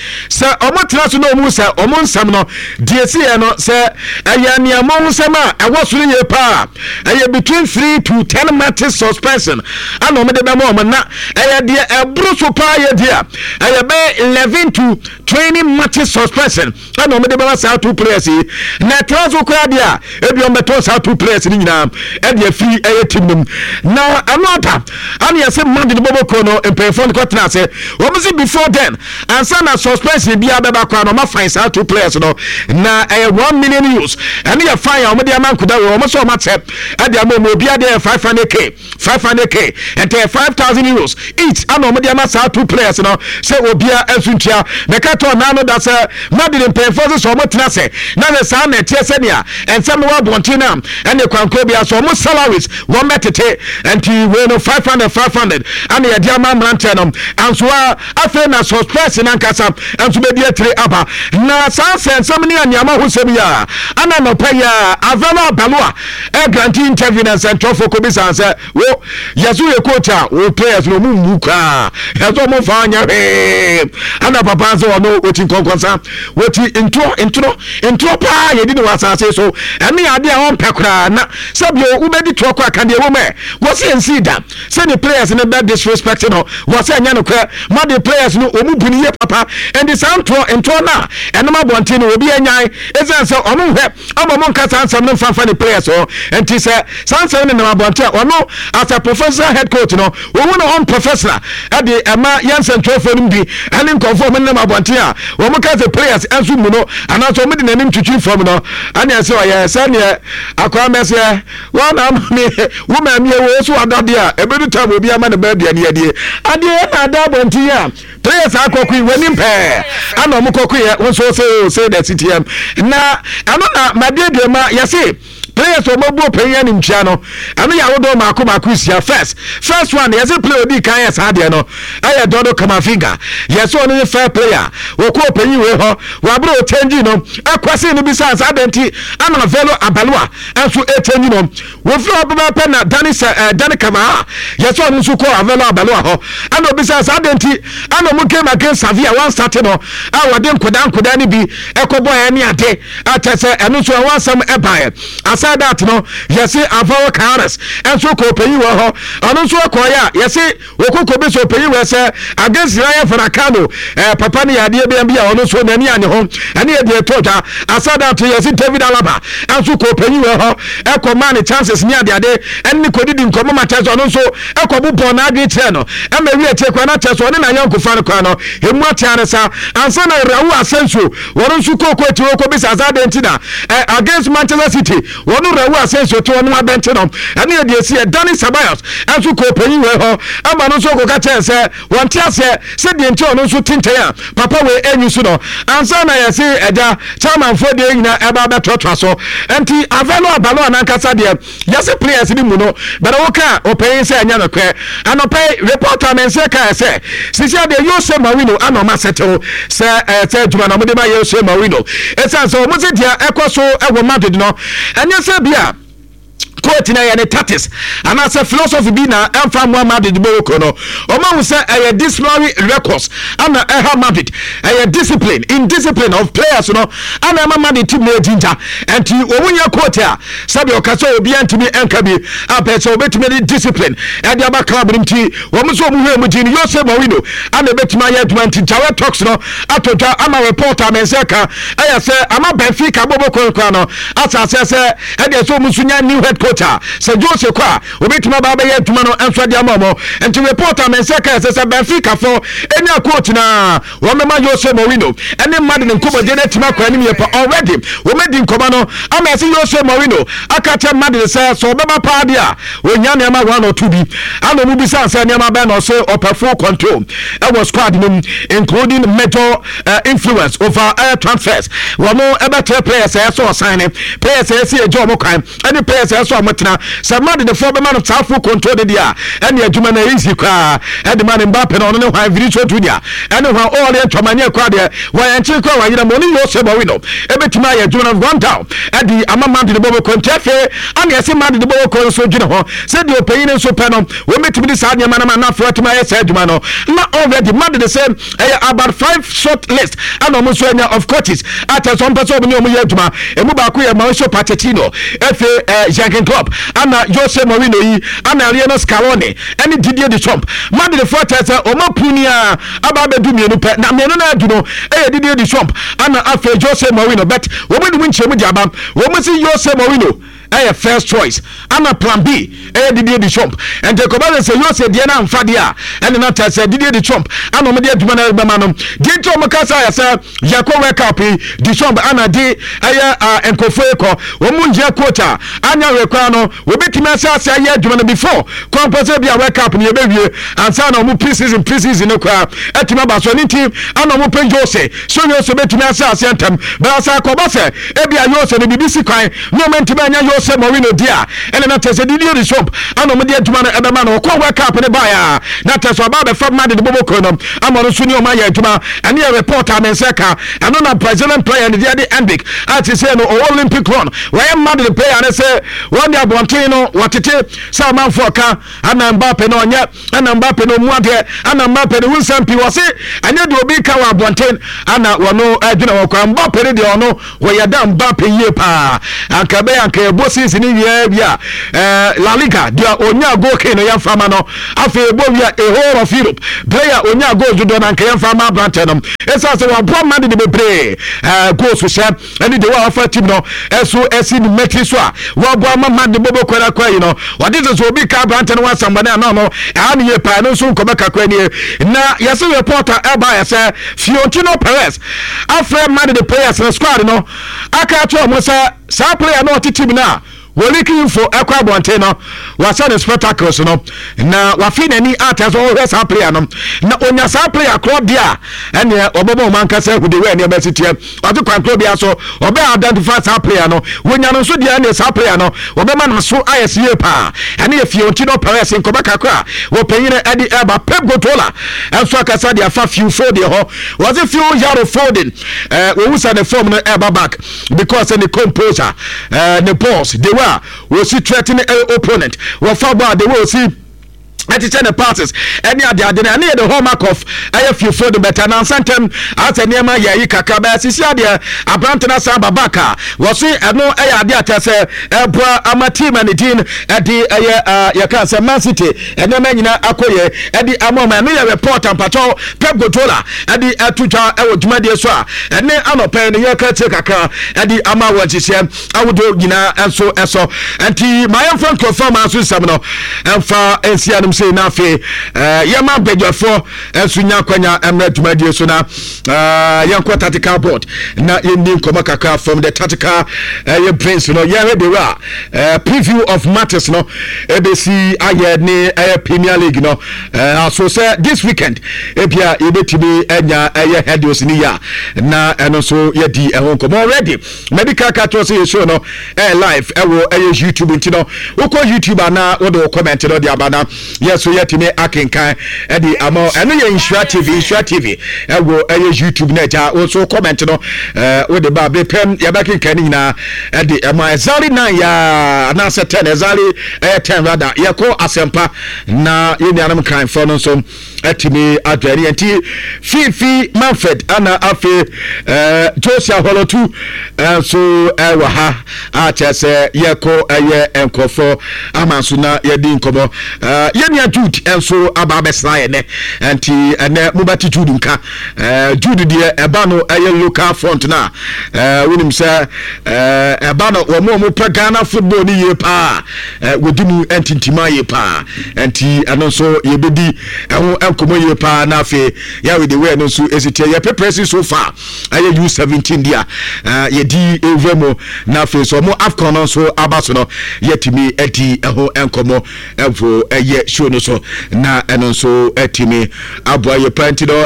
ɔmo tena so na ɔmo sɛ ɔmo nsɛm no deɛ si yɛ no sɛ ɛyɛ nneɛma ho nsɛm a ɛwɔ soro yie paa, ɛyɛ between 3 to 10 matches suspension ana ɔmo de bɛma ɔmo, na ɛyɛ deɛ ɛboro so paa yɛ deɛ ɛyɛ bɛyɛ 11 to 20 matches suspension ɛna ɔmo de bɛma saa two players yi. Na ɛtena so koraa deɛ a, ebi ɔmo bɛtɔn saa two players no nyinaa ɛde afiri ɛyɛ team no mu. Na ɛno ata ana yɛsɛ Madrid bɔbɔ kuo no mpanyinfoɔ no kɔtena ase, wɔn si before then ansa na suspension biara bɛba koraa no, ɔmo afine saa two players no na ɛyɛ €1 million. Ɛno yɛ fine a ɔmo de ama nkuda wɔ wɔn sɛ ɔmo akyɛ ɛde ama ɔmo obiara deɛ yɛ 500K, 500K, ɛntɛ €5,000 each ana ɔmo de ama saa two players no sɛ obiara nso ntua. Mɛka tɔ ɔnan no da sɛ Madrid mpanyinfoɔ nso sɛ ɔmo tena sɛ na sɛ saa na ɛteɛ sɛnea nsɛm no wɔ abɔnten no a, ɛne kwankoro bi so ɔmo salaries wɔn bɛtete. Nti wei no 500 500 ana yɛde ama mmeranteɛ no anso a, afei na suspension nankasa nso bɛdi akyire aba. Na saa nsɛnsɛm ne nneɛma ho nsɛm yi a ana nɔpɛ yi a Alvaro Arbeloa ɛgrant interview na nsɛntwerɛfoɔ kɔbisa sɛ wo yɛso. Woyɛ coach a wo players no ɔmo mmu koraa, ɛsɛ ɔmo mfa nyɛ hwee. Ɛna papa nso ɔno ɔti nkɔnkɔnsa, wɔti ntorɔ ntorɔ ntorɔ paa yɛdi no wɔ asase so, ɛne adeɛ a ɔmpɛ koraa. Na sɛbio wobɛdi torɔ kɔ aka deɛ ɛwɔ mu ɛ, wɔsi ɛnsii da sɛ ne players no bɛ disrespect no, wɔsɛ ɛnyɛ nokorɛ. Ma de players no ɔmu bu no yie papa, ɛnti saa ntorɔ ntorɔ no a ɛnom abɔnten no obi anyae, ɛsiane sɛ ɔmo nhwɛ ama ɔmo nka saa nsɛm no mfa mfa ne players ho. Nti sɛ saa nsɛm no nam abɔnten a, ɔno as a professional head coach no, wɔhu no unprofessional ɛde ɛma yɛn nsɛntwerɛfoɔ no bi ɛne nkurɔfoɔ a wɔn nam abɔnten a wɔn ka sɛ players nso mu no, anaasɛ wɔn de n'anim twitwi fam no, ɛne ɛsɛ ɔyɛ sɛdeɛ akwaa mɛsɛ wɔn na ama me wo maame ɛwɔ so adadeɛ a ɛbɛdu tam obi ama ne ba aduane adie adeɛ ɛna ada abɔnten a players akɔko yi w'anim pɛɛ ana ɔmo kɔko yɛ wo nso sɛ o sɛ na ctm na ɛno na madeɛ ma yɛse players ɔmo abu ɔpanyin animtia no, ɛno yɛ ahodoɔ maako maako nsia. First one, yɛse player odi kan yɛ saa deɛ no ɛyɛ Dɔdo Kamavinga. Yɛse ɔno ne fair player wɔkɔ ɔpanyin wei hɔ wɔabere ɔkyɛngyi no ɛkwasi no bisa saa deɛ nti ana Velo Abaloa ɛnso ɛkyɛngyi no. Wofiri hɔ pɛpɛɛpɛ na Dani sɛ ɛɛ Dani Kamaha yɛ sɛ ɔno nso kɔɔ Avelo Abaloa hɔ ɛna obisaa sɛ adɛn nti ɛna ɔmo game against Sevilla wɔn starte no a wɔde nkodaa nkodaa no bi ɛkɔ bɔɔ ɛne ade a kyɛ sɛ ɛno nso ɛho asɛm ɛbaeɛ. Aside that no, yɛse Alvaro Carreras ɛnso kɔɔ panyin wɔ hɔ, ɔno nso ɛkɔɔeɛ a yɛse Okoko bi so ɔpanyin wɔ sɛ against Rayo Vallecano eh, papa no yɛ adeɛ bi bi a ɔno nso n'ani anye ho, ɛne yɛ deɛ ɛtɔ dwa. Asada to yɛsi David Alaba nso kɔ ɔpanyin wɔ hɔ ɛkɔ maa ne chances ne adeade ɛne ne kɔdidi nkɔmmɔ ma kyɛ sɛ ɔno nso ɛkɔ bobɔ n'adwene kyerɛ no ɛma ewi akyire koraa na kyɛ sɛ ɔne n'ayɔnkofa no koraa no emu atea ne sa ansa na Raul Asensio wɔn nso kɔ kɔ akyire kɔ bisa sɛ adɛn nti na eh, against Manchester City Wɔn wura wu asɛnsuo to wɔn abɛnte no, ɛne yɛ deɛ ɛsi yɛ. Dani Ceballos nso kɔɔ panyin wei hɔ ma no nso kɔka kyerɛɛ sɛ wɔnte aseɛ sɛ deɛ nti ɔno nso te nkyɛn a papa wei anyi so no ansa na yɛse agya chairmanfoɔ deɛ nyina ɛba bɛtoatoa so. Nti Avelo Abaloa nankasa deɛ yɛse players no mu no bɛrɛ wo ka ɔpanyin sɛ ɛnyɛ nokorɛ. Anɔpa yi report a mense kaeɛ sɛ sisi adeɛ Jose Mourinho ana ɔma sɛtew sɛ ɛsɛ adwuma na wɔde ma Jose Mourinho ɛsiane sɛ wɔn sɛ deɛ ɛkɔ so wɔ Madrid no ɛnyɛ sɛ bi a coach na ɛyɛ ne tactics anaasɛ philosophy bi na ɛmfa mmoa Madrid bɔwɔkuo no. Wɔn ahu sɛ ɛyɛ disciplinary records ana ɛha Madrid, ɛyɛ discipline indiscipline of players no ana ɛma Madrid team no agyingya. Ɛnti wɔn nyɛ coach a sɛdeɛ ɔka sɛ obiara ntumi nka bi apɛ sɛ obetumi de discipline ɛde aba club no nti wɔn nso wɔn hwɛ mu gyi no Jose Mourinho ana ebetumi ayɛ adwuma. Nti Jared Talks no ato dwa ama report a mɛnsa ka ɛyɛ sɛ ama Benfica bɔbɔ korakora no asase sɛ ɛdeɛ sɛ wɔn nso nya new head coach a sɛ Jose kɔ a obetumi aba abɛyɛ adwuma no nso ɛde ama wɔn. Nti report a mɛnsa ka ɛsɛ sɛ Benfica fo enya coach na wɔbɛma Jose Mourinho ne Madrid nkɔmmɔdie no atumi akɔ anim yie pa. Already wɔadi nkɔmmɔ no ama ɛsɛ Jose Mourinho aka kyerɛ Madrid sɛ sɛ ɔbɛba paa deɛ a ɔhia nneɛma one or two bi. Ana wɔn bisa sɛ nneɛma bɛn na ɔsɛ ɔpɛ full control ɛwɔ squad no mu including major influence over transfers. Wɔn ɛbɛkyerɛ players a ɛsɛ ɔsan ne players a ɛsɛ yɛgye wɔn kwan ɛne players a ɛsɛ ɔmo tena. Sɛ Madridfoɔ bɛma no saa full control no deɛ a, ɛne adwuma no easy koraa ɛde ma no. Mbappe no ɔno ne hwan, Vinicius Junior ɛne hwan, Aurelien Tchouameni koraa deɛ wɔyɛ nkyen koraa wɔayera mu, ɔne Jose Mourinho ɛbɛtumi ayɛ adwuma no run down ɛde ama Madrid bɔ bɔkɔ. Nti afei ana ɛsɛ Madrid bɔ bɔkɔ nso dwene ho sɛ deɛ ɔpanyin no nso pɛ no wɔbɛtumi de saa nneɛma no ma na afei watumi ayɛ saa adwuma no. Na already Madrid sɛ ɛyɛ about five short list ɛna ɔmo nso anya of coaches a kyerɛ sɛ ɔmo pɛ sɛ ɔmo ne ɔmo yɛ adwuma. Emu baako yɛ Mauricio Pochettino, efe Jurgen Klopp, ana Jose Mourinho yi, ana Lionel Scaloni ɛne Didier Deschamps. Madridfoɔ kyerɛ sɛ ɔmo apuni a aba abɛdu mmienu pɛ, na mmienu no adu no ɛyɛ Didier Deschamps ana afei Jose Mourinho, but wɔn de mu nkyerɛmu de aba. Wɔn si Jose Mourinho ɛyɛ first choice, ana plan B ɛyɛ Didier Deschamps. Nti kɔba sɛ sɛ Jose deɛ no amfa deɛ a, ɛne no kyerɛ sɛ Didier Deschamps ana ɔmo de adwuma no bɛma no. Deɛ nti ɔmo ka sɛ ayɛ sɛ yɛkɔ World Cup yi, Deschamps ana de ɛyɛ nkurɔfoɔ yi kɔ. Wɔn mu nhia coach a anya hwɛ koraa no wɔbɛtumi ahyɛ ase ayɛ adwuma no before kwan sɛ bi a World Cup no yɛbɛwie ansa na ɔmo pre-season no koraa atumi aba so. Ɛno nti ana ɔmo pɛ Jose so Jose bɛtumi ahyɛ aseɛ ntɛm bɛrɛ sɛ akɔba sɛ ebi a Jose no biribi si kwan na ɔmo ntumi anya. Jose Mourinho di a, ɛna na kyerɛ sɛ Didier Deschamps ana wɔn de adwuma no ɛbɛma no. Ɔkɔɔ World Cup no baeɛ a, na kyerɛ sɛ ɔba abɛfa Madrid boboko no ama ɔno nso ne wɔn ayɛ adwuma. Ɛno yɛ report a me nsa ka. Ɛno na Brazilian player no deɛ de Endrick a seesei no ɔwɔ Olympic Lyon, wɔyɛ Madrid player no sɛ wɔn de abɔnten no wɔtete sɛ amanfoɔ ka ana Mbappe no ɔnyɛ Ɛna Mbappe no ɔmu adeɛ, ɛna Mbappe no ho nsɛm pii. Wɔse ɛnyɛ deɛ obi ka wɔ abɔnten ana wɔno adwene ho koraa. Mbappe no deɛ ɔno wɔyɛ da Mbappe yie paa. Anka ɛbɛyɛ anka yɛbɔ season no wie wie a eh, La Liga deɛ ɔnya goal king no yɛmfa ma no. Afei yɛbɔ wie a a whole of Europe player ɔnya goals dodoɔ no anka yɛmfa ma aberantɛ no. Ɛsiane sɛ wɔaboa Madrid bebree eh, goals hyɛ ɛne deɛ wɔafa team no ɛso ɛsi ne mmatiri so a wɔaboa ama ma ne bobo kwara kwa yi no wɔde sɛ sɛ obi ka aberante no ho asɛmbɔne a na ɔno ɛha ne yie paa ɛno nso nkɔmɛ kakra nie na yɛsɛ reporter ɛba yɛ sɛ Fiorentino Perez afrɛ Madrid players no squad no aka akyerɛ wɔn sɛ saa player no ɔte team no a Wɔleaki info ɛkɔ abɔnten no, wahyɛ ne spectacles no na wafe n'ani atɛ sɛ ɔhwɛ saa player no na onya saa player korɔ deɛ a ɛneɛ ɔbɛbɔ ɔmo ankasa ahu de wɛ nneɛma si teɛ. Ɔde kwan korɔ biara so ɔbɛ identify saa player no, wonya no nso deɛ ɛneɛ saa player no wɔbɛma n'aso ayɛ se yie paa. Ɛne yɛ Fiorentino Perez nkɔmɔ kakra a wɔpanyin ɛde ɛba. Pep Guardiola nso akasa de afa Phil Foden hɔ. Wɔse Phil Yaro Foden ɛɛ wɔhu sɛ ne form no ɛba back. Because ne composer, ne boss, the way a wɔsi threaten opponent, wɔfa bɔ a the way wɔsi ɛkyekyɛ ne passes ɛne ade ade no ɛne yɛ the hallmark of ɛyɛ fiefo de bɛtɛ nansa ntɛm asɛ nneɛma yɛ ayi kakra bɛyɛ sisi adeɛ aberante no asan ba back a wɔse ɛno ɛyɛ ade akyɛ sɛ ɛboa ama team ne din ɛde ɛyɛ yɛka sɛ Man City nneɛma nyinaa akɔ yɛ ɛde ama ɔma ɛno yɛ report ampakyɛw Pep Guardiola ɛde ɛto dwa ɛwɔ dwumadie so a ɛne anɔpɛ no yɛka akyire kakra ɛde ama wɔ nhyehyɛ ahodoɔ nyinaa nso ɛsɔ nti ma yɛmfa nkurɔfoɔ ama nso nsɛm no ɛmfa nsi anom sei na afei yɛma badwafoɔ nso nya akwanya mmerɛ dwumadie so na yɛnkɔ tactical board na yɛnni nkɔmmɔ kakra from the tactical ɛyɛ brains no yɛhwɛ de wɔ a preview of matches no ɛbɛsi ayɛ ne ɛyɛ Premier League no aso sɛ this weekend ebia yɛbɛtumi anya ɛyɛ headings ne yɛ a na ɛno nso yɛdi ɛho nkɔmmɔ already medical ka kyerɛ sɛ yɛ show no ɛyɛ live ɛwɔ ɛyɛ YouTube nti no wokɔ YouTube anaa wode wo comment no de aba na yɛ so yɛtumi akenkan ɛde ama ɛno yɛ Nhyira TV Nhyira TV ɛwɔ ɛyɛ YouTube na agya wo nso comment no wode ba bere pɛm yɛbɛkenkan ne nyinaa ɛde ɛma exactly 9 yɛ anaasɛ 10 exactly ɛyɛ 10 rather yɛkɔ asɛmpa na yɛn nuanom Nkranfoɔ no nso atumi adwɛne yɛn nti Fifi Manfred ana afei eh, Josia Holotu nso ɛwɔ eh, ha a kyerɛ sɛ yɛkɔ ɛyɛ eh, nkurɔfoɔ ama nso na yɛdi nkɔmmɔ eh, yɛn nua Jude nso aba abɛsra yɛn nɛ nti ɛnɛ mobɛte Jude nka eh, Jude deɛ ɛba no ɛyɛ local front no a eh, wonim sɛ eh, ɛba no wɔn a wɔpɛ Ghana football no yie paa Wɔdi mu ntintima yie paa nti ɛno nso yɛbɛdi ɛho nkɔmmɔ yie paa na afei yɛawe de wei no nso ɛsi teɛ yɛ preparation so far ɛyɛ U17 di a yɛdi ɛwura mu na afei nso ɔmo AFCON no nso aba so no yɛtumi adi ɛho nkɔmmɔ ɛwɔ ɛyɛ show no so na ɛno nso ɛtumi aboa yɛ paa nti no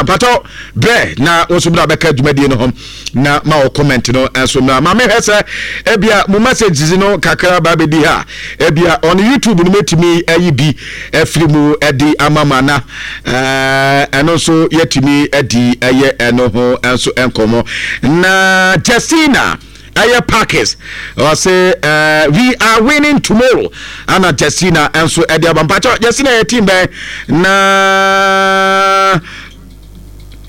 mpatɔ brɛ na wo nso bra bɛka dwumadie no ho na ma wɔ comment no nso mmra ma mehwɛ sɛ ebia mo messages no kakra ba bɛdi ha ebia on YouTube no mɛtumi ayi bi afiri mu de ama ma na ɛno nso yɛtumi adi ɛyɛ ɛno ho nso nkɔmmɔ na Justina ɛyɛ Parkes ɔse uh, we are winning tomorrow ana Justina nso ɛde aba mpakyɛ Justina yɛ team bɛn na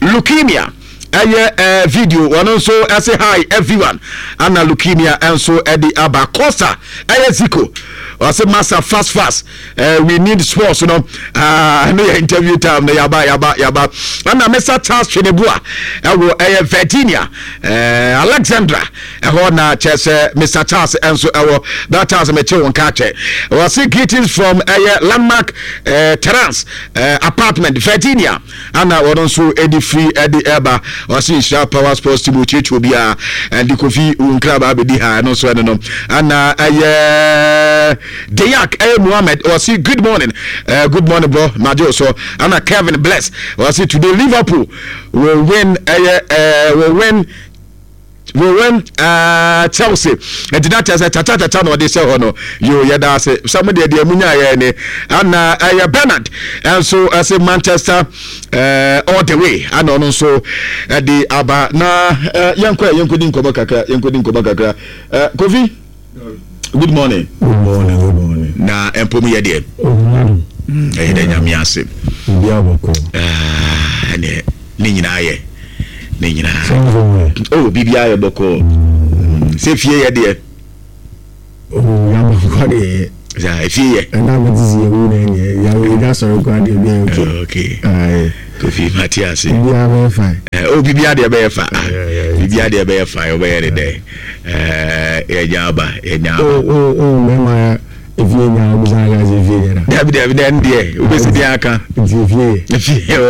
Leukemia ɛyɛ ɛɛ video wɔn nso ɛsɛ hi everyone ana leukemia nso ɛde aba Costa ɛyɛ Zico ɔsɛ masa fast fast uh, we need sports no ɛno uh, yɛ interview time no yaba yaba yaba ɛna Mr Charles Tweneboa ɛwɔ ɛyɛ Virginia uh, Alexandra ɛhɔ na kyerɛ sɛ Mr Charles nso ɛwɔ that Charles mekye wɔn ka kyɛ wɔse greetings from ɛyɛ Landmark uh, Terrace uh, apartment Virginia Ana wɔn nso de firi de ɛba ɔse nhyira power sports team ɔkyerɛkyerɛ obiara ɛde kofi wo nkraba abɛdi ha ɛno nso ɛno no ana ɛyɛ Deyak ɛyɛ Muhammad ɔse good morning uh, good morning bro magye so ana Kevin Bless ɔse today Liverpool will win ɛyɛ uh, will win. We win Chelsea. Nti na kyerɛ sɛ kyakya kyakya na ɔde hyɛ hɔ no. Yo, yɛda ase sɛ mo deɛ deɛ mu nyaayɛ ne. Ana ɛyɛ Bernard nso ɛsɛ Manchester all the way. Ana ɔno nso ɛde aba na yɛnkɔ yɛnkɔdi nkɔmmɔ kakra, yɛnkɔdi nkɔmmɔ kakra. Kofi, good morning. Good morning, good morning. Na mpo mu yɛ deɛ. Ɛyɛ dɛ Nyame ase. Obi abɔkɔ. Ɛneɛ ne nyinaa yɛ. Ne nyinaa. Oh, biribiara yɛ bɔkɔɔ. Sɛ fie yɛ deɛ. Oh, yaba kɔ deɛ yɛ. Sɛ efie yɛ. Ɛna mi ti si ewu na ɛnyɛ yawo yi da sɔrɔ kɔ adeɛ bi yɛ okay. Okay. Ayi. Kofi mate ase. Biribiara bɛyɛ fine. Oh, biribiara deɛ bɛyɛ fa. Biribiara deɛ bɛyɛ fine. Ɔbɛyɛ ne dɛ. Yɛnya aba, yɛnya aba. Oh, oh, oh, mɛma efie nya obisa aka sɛ efie yɛ na. Dabi dabi dɛ ndeɛ wobɛsi deɛ aka. Nti efie yɛ. Efie yɛ o.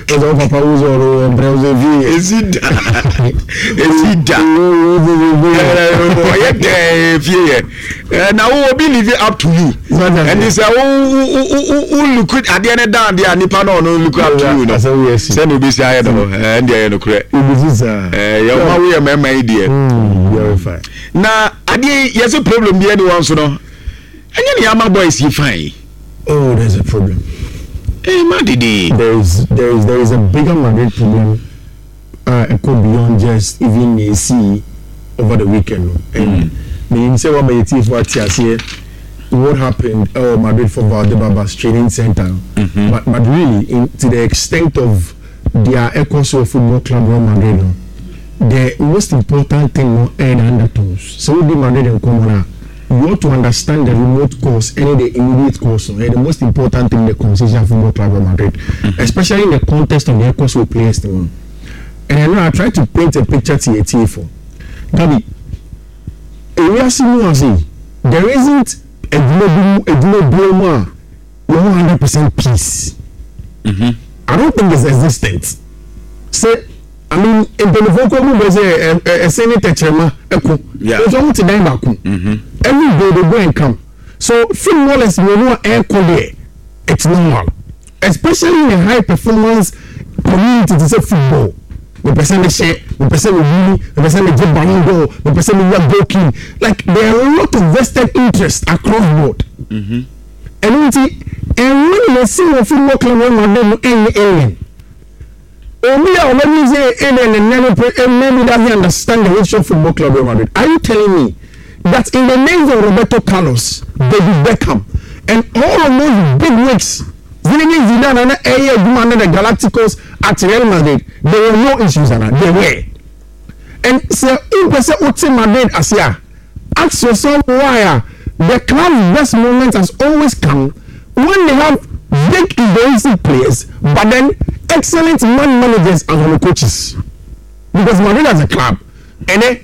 Ɔsɛ wo papa wo sɛ ɔno ɔbrɛ wo sɛ efie yɛ. Esi da esi da. Ɔyɛ dɛ efie yɛ. Na wo obi live up to you. Ɛnti sɛ wo wo wo wo look adeɛ ne down deɛ a nipa na ɔno look up to you no. Sɛ na obesi ayɛ no ɛndeɛ yɛ nokorɛ. Yɛ ɔma wo yɛ mɛɛma yi deɛ. Na adeɛ yi yɛsɛ problem bi ɛni wɔn so no ɛnyɛ ne ama boys yi fine. Oh, there's a problem. Eh, ma dede. There is a bigger Madrid problem. Ɛkɔ beyond just even nea esii over the weekend no. And menim sɛ wama yɛn tiefo ate aseɛ what happened ɛwɔ Madrid for Valdebebas training center no. But really in to the extent of deɛ ɛkɔ so wɔ football club Real Madrid no, the most important thing no ɛyɛ the undertones. Sɛ wodi Madrid nkɔmmɔ no a, you ought to understand the remote cause ɛne the immediate cause no. Ɛyɛ the most important thing in the conversation at football club Real Madrid, especially in the context of the ɛkɔ so wɔ players no mu no. And I know I try to paint a picture to yɛ tiefo. Gabi, ewiase mu ase yi, there isn't adwuma bi mu adwuma biara mu a yɛwɔ 100% peace. I don't think it's existent. Sɛ I mean mpanyinfoɔ kɔ mu bɛ sɛ ɛ ɛ ɛsɛn ne tɛkyerɛma ɛko. Nso wɔn te dan baako. Every day they go and come. So footballers mmienu a ɛɛko deɛ, it's normal. Especially in a high performance community te sɛ football. Mepɛ sɛ mehyɛ, mepɛ sɛ mewini, mepɛ sɛ megye Ballon d'Or, mepɛ sɛ menya goal king. Like there are a lot of vested interest across board. Ɛno nti, ɛnwo na yɛsi wɔ football club Real Madrid no ɛnyɛ alien. Obi a ɔbɛdwen sɛ ɛyɛ alien nnɛ no pɛ maybe doesn't understand the history of football club Real Madrid. Are you telling me that in the names of Roberto Carlos, David Beckham and all of those big wigs, Zinedine Zidane a na ɛyɛ adwuma under the Galacticos at Real Madrid, there were no issues ana? There were. And sɛ wopɛ sɛ wote Madrid ase a, ask yourself why a the club's best moment has always come when they have big egoistic players but then excellent man managers and wɔn coaches. Because Madrid as a club, ɛnɛ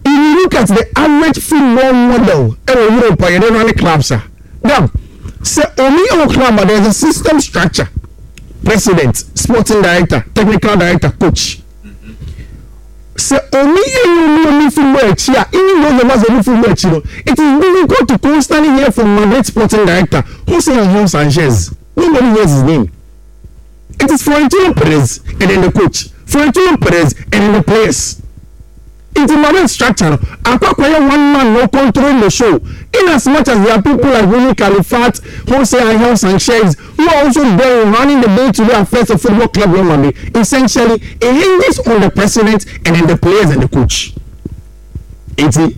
if you look at the average football model ɛwɔ Europe a yɛde run clubs a, dam sɛ omi ɛwɔ club a there is a system structure, president, sporting director, technical director, coach. Sɛ omi ɛyɛ omi omi football akyi a, even those of us omi football akyi no, it is difficult to constantly hear from Madrid sporting director Jose Angel Sanchez. Nobody hears his name. It is Florentino Perez and then the coach, Florentino Perez and then the players. Nti Madrid structure no akɔ akɔyɛ one man no controlling the show, in as much as there are people like Rumi Califat, Jose Angel Sanchez who are also there running the day to day affairs of football club Real Madrid. Essentially, it hinges on the president and then the players and the coach. Nti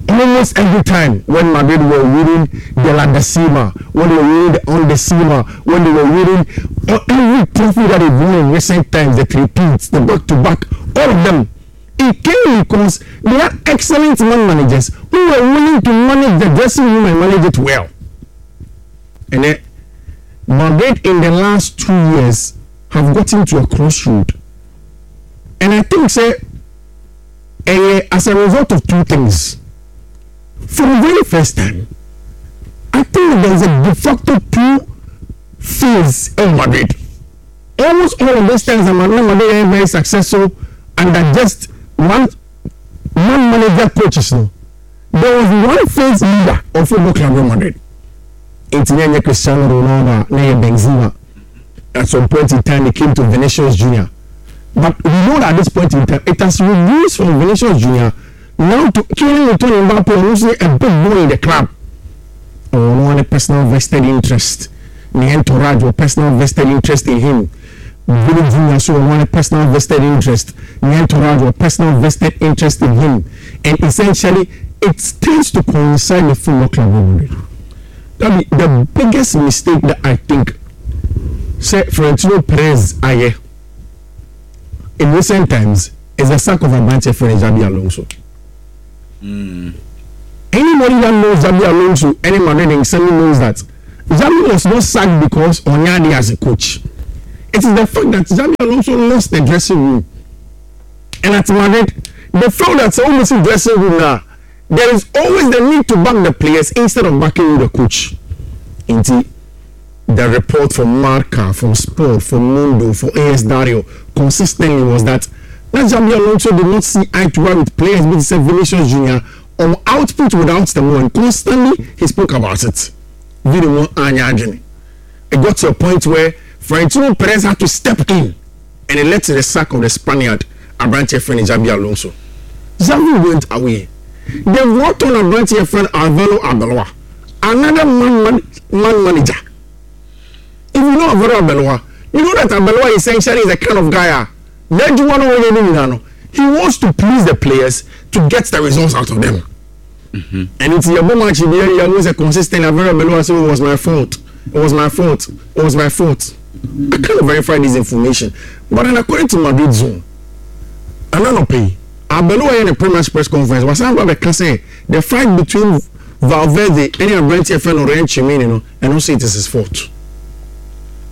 almost every time when Madrid were winning the La Decima, when they were winning the Undecima, when they were winning every trophy that they've won in recent times, the three-peats, the back-to-back, all of them, it came because they had excellent man managers who were willing to manage the dressing room and manage it well. And then Madrid in the last 2 years have gotten to a crossroad. And I think, say, as a result of two things. For the very first time, I think there is a de facto two phase in Madrid. Almost all of those times, Madrid are very successful under just one manager coaches. No, there was one phase leader of football club Real Madrid. It's near Cristiano Ronaldo, near Benzema. At some point in time, it came to Vinicius Junior. But we know that at this point in time, it has reduced from Vinicius Junior now to Kylian Antonio Mbappe, ɔno nso yɛ a big boy in the club. Ɔwɔ no personal vested interest. Ne entourage wɔ personal vested interest in him. Vini Junior so wɔ no personal vested interest. Ne entourage wɔ personal vested interest in him. And essentially, it tends to coincide with Football Club Real Madrid. That be the biggest mistake that I think sɛ Florentino Perez ayɛ in recent times is the sack of aberanteɛ frɛ no Xabi Alonso. Mm. Anybody that knows Xabi Alonso, any Madrid nsɛm knows that Xabi was not sacked because ɔnyɛ adeɛ as a coach. It is the fact that Xabi Alonso lost the dressing room. And at Madrid, they felt that sɛ wɔn si dressing room na there is always the need to back the players instead of backing the coach. Nti the report from Marca, from Sport, from Mundo, from AS Dario consistently was that na Xabi Alonso did not see eye to eye with players bi te sɛ Vinicius Junior on output without the ball and constantly he spoke about it. Vini mo anya adwene. It got to a point where Florentino Perez had to step in and it led to the sack of the Spaniard aberanteɛ frɛ no Xabi Alonso. Xavi went away. They brought on aberanteɛ frɛ no Alvaro Arbeloa, another man, man, man manager. If you know Alvaro Arbeloa, you know that Arbeloa essentially is the kind of guy a n'adwuma no ɔyɛ no nyinaa no, he wants to please the players to get the results out of them. Mm-hmm. And it's your match bi yɛ yɛ sɛ consistent Alvaro Arbeloa say it was my fault, it was my fault, it was my fault. I can't verify this information, but then according to Madrid Zone, ananɔpɛ yi, Arbeloa yɛ ne pre-match press conference, wasan ba bɛka sɛ the fight between Valverde ɛne aberanteɛ fɛ no Ryan Tchouameni no, ɛno nso it is his fault.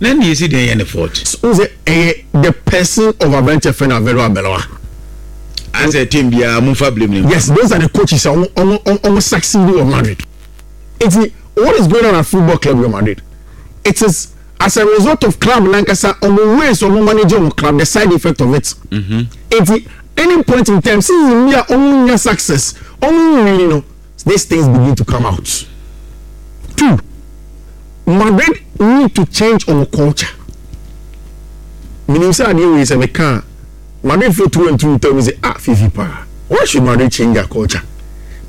Na ne yɛsi deɛ yɛ ne fault. So sɛ ɛyɛ the person of aberanteɛ fɛ no Alvaro Arbeloa. Asɛ team biara mo nfa blame ne. Yes, those are the coaches a wɔn wɔn wɔn succeed wɔ Madrid. Nti what is going on at Football Club Real Madrid? It is as a result of club nankasa wɔn ways wɔn manage wɔn club the side effect of it. Nti any point in time season bi a wɔn nya success wɔn win no these things begin to come out. Two, Madrid need to change wɔn culture. Menim sɛ adeɛ wei sɛ meka a Madrid fo through and through tell me say ah fifi paa why should Madrid change their culture?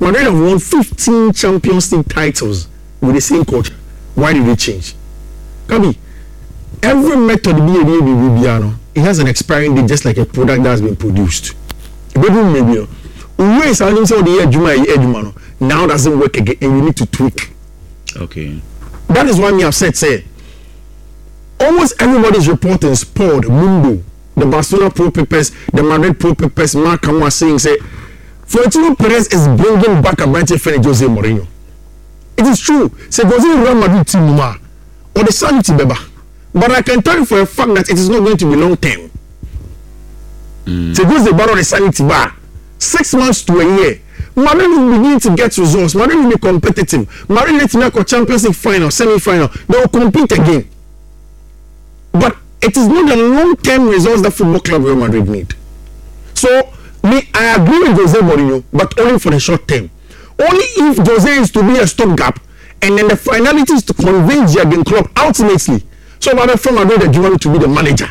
Madrid have won 15 Champions League titles with the same culture. Why did they change? Kabi, every method bi yɛ biribi biara no, it has an expiring date just like a product that has been produced. Ebedu mmerɛ bi no, ways a wonim sɛ wode yɛ adwuma a ɛyɛ adwuma no, now doesn't work again and you need to tweak. Okay. That is why me upset say almost everybody is reporting Sport, Mundo, the Barcelona pro papers, the Madrid pro papers, Mark are saying say Florentino Perez is bringing back aberanteɛ fɛ no Jose Mourinho. It is true sɛ Jose Real Madrid team no mu a, ɔde sanity bɛba but I can tell you for a fact that it is not going to be long term. Mm. Sɛ Jose ba na ɔde sanity ba a, 6 months to a year, Madrid will begin to get results. Madrid will be competitive. Madrid bɛtumi akɔ Champions League final, semi final. They will compete again. But it is not the long term results that Football Club Real Madrid need. So me, I agree with Jose Mourinho, but only for the short term. Only if Jose is to be a stopgap, and then the finality is to convince Jurgen Klopp ultimately. So Madrid from Madrid adwuma to be the manager.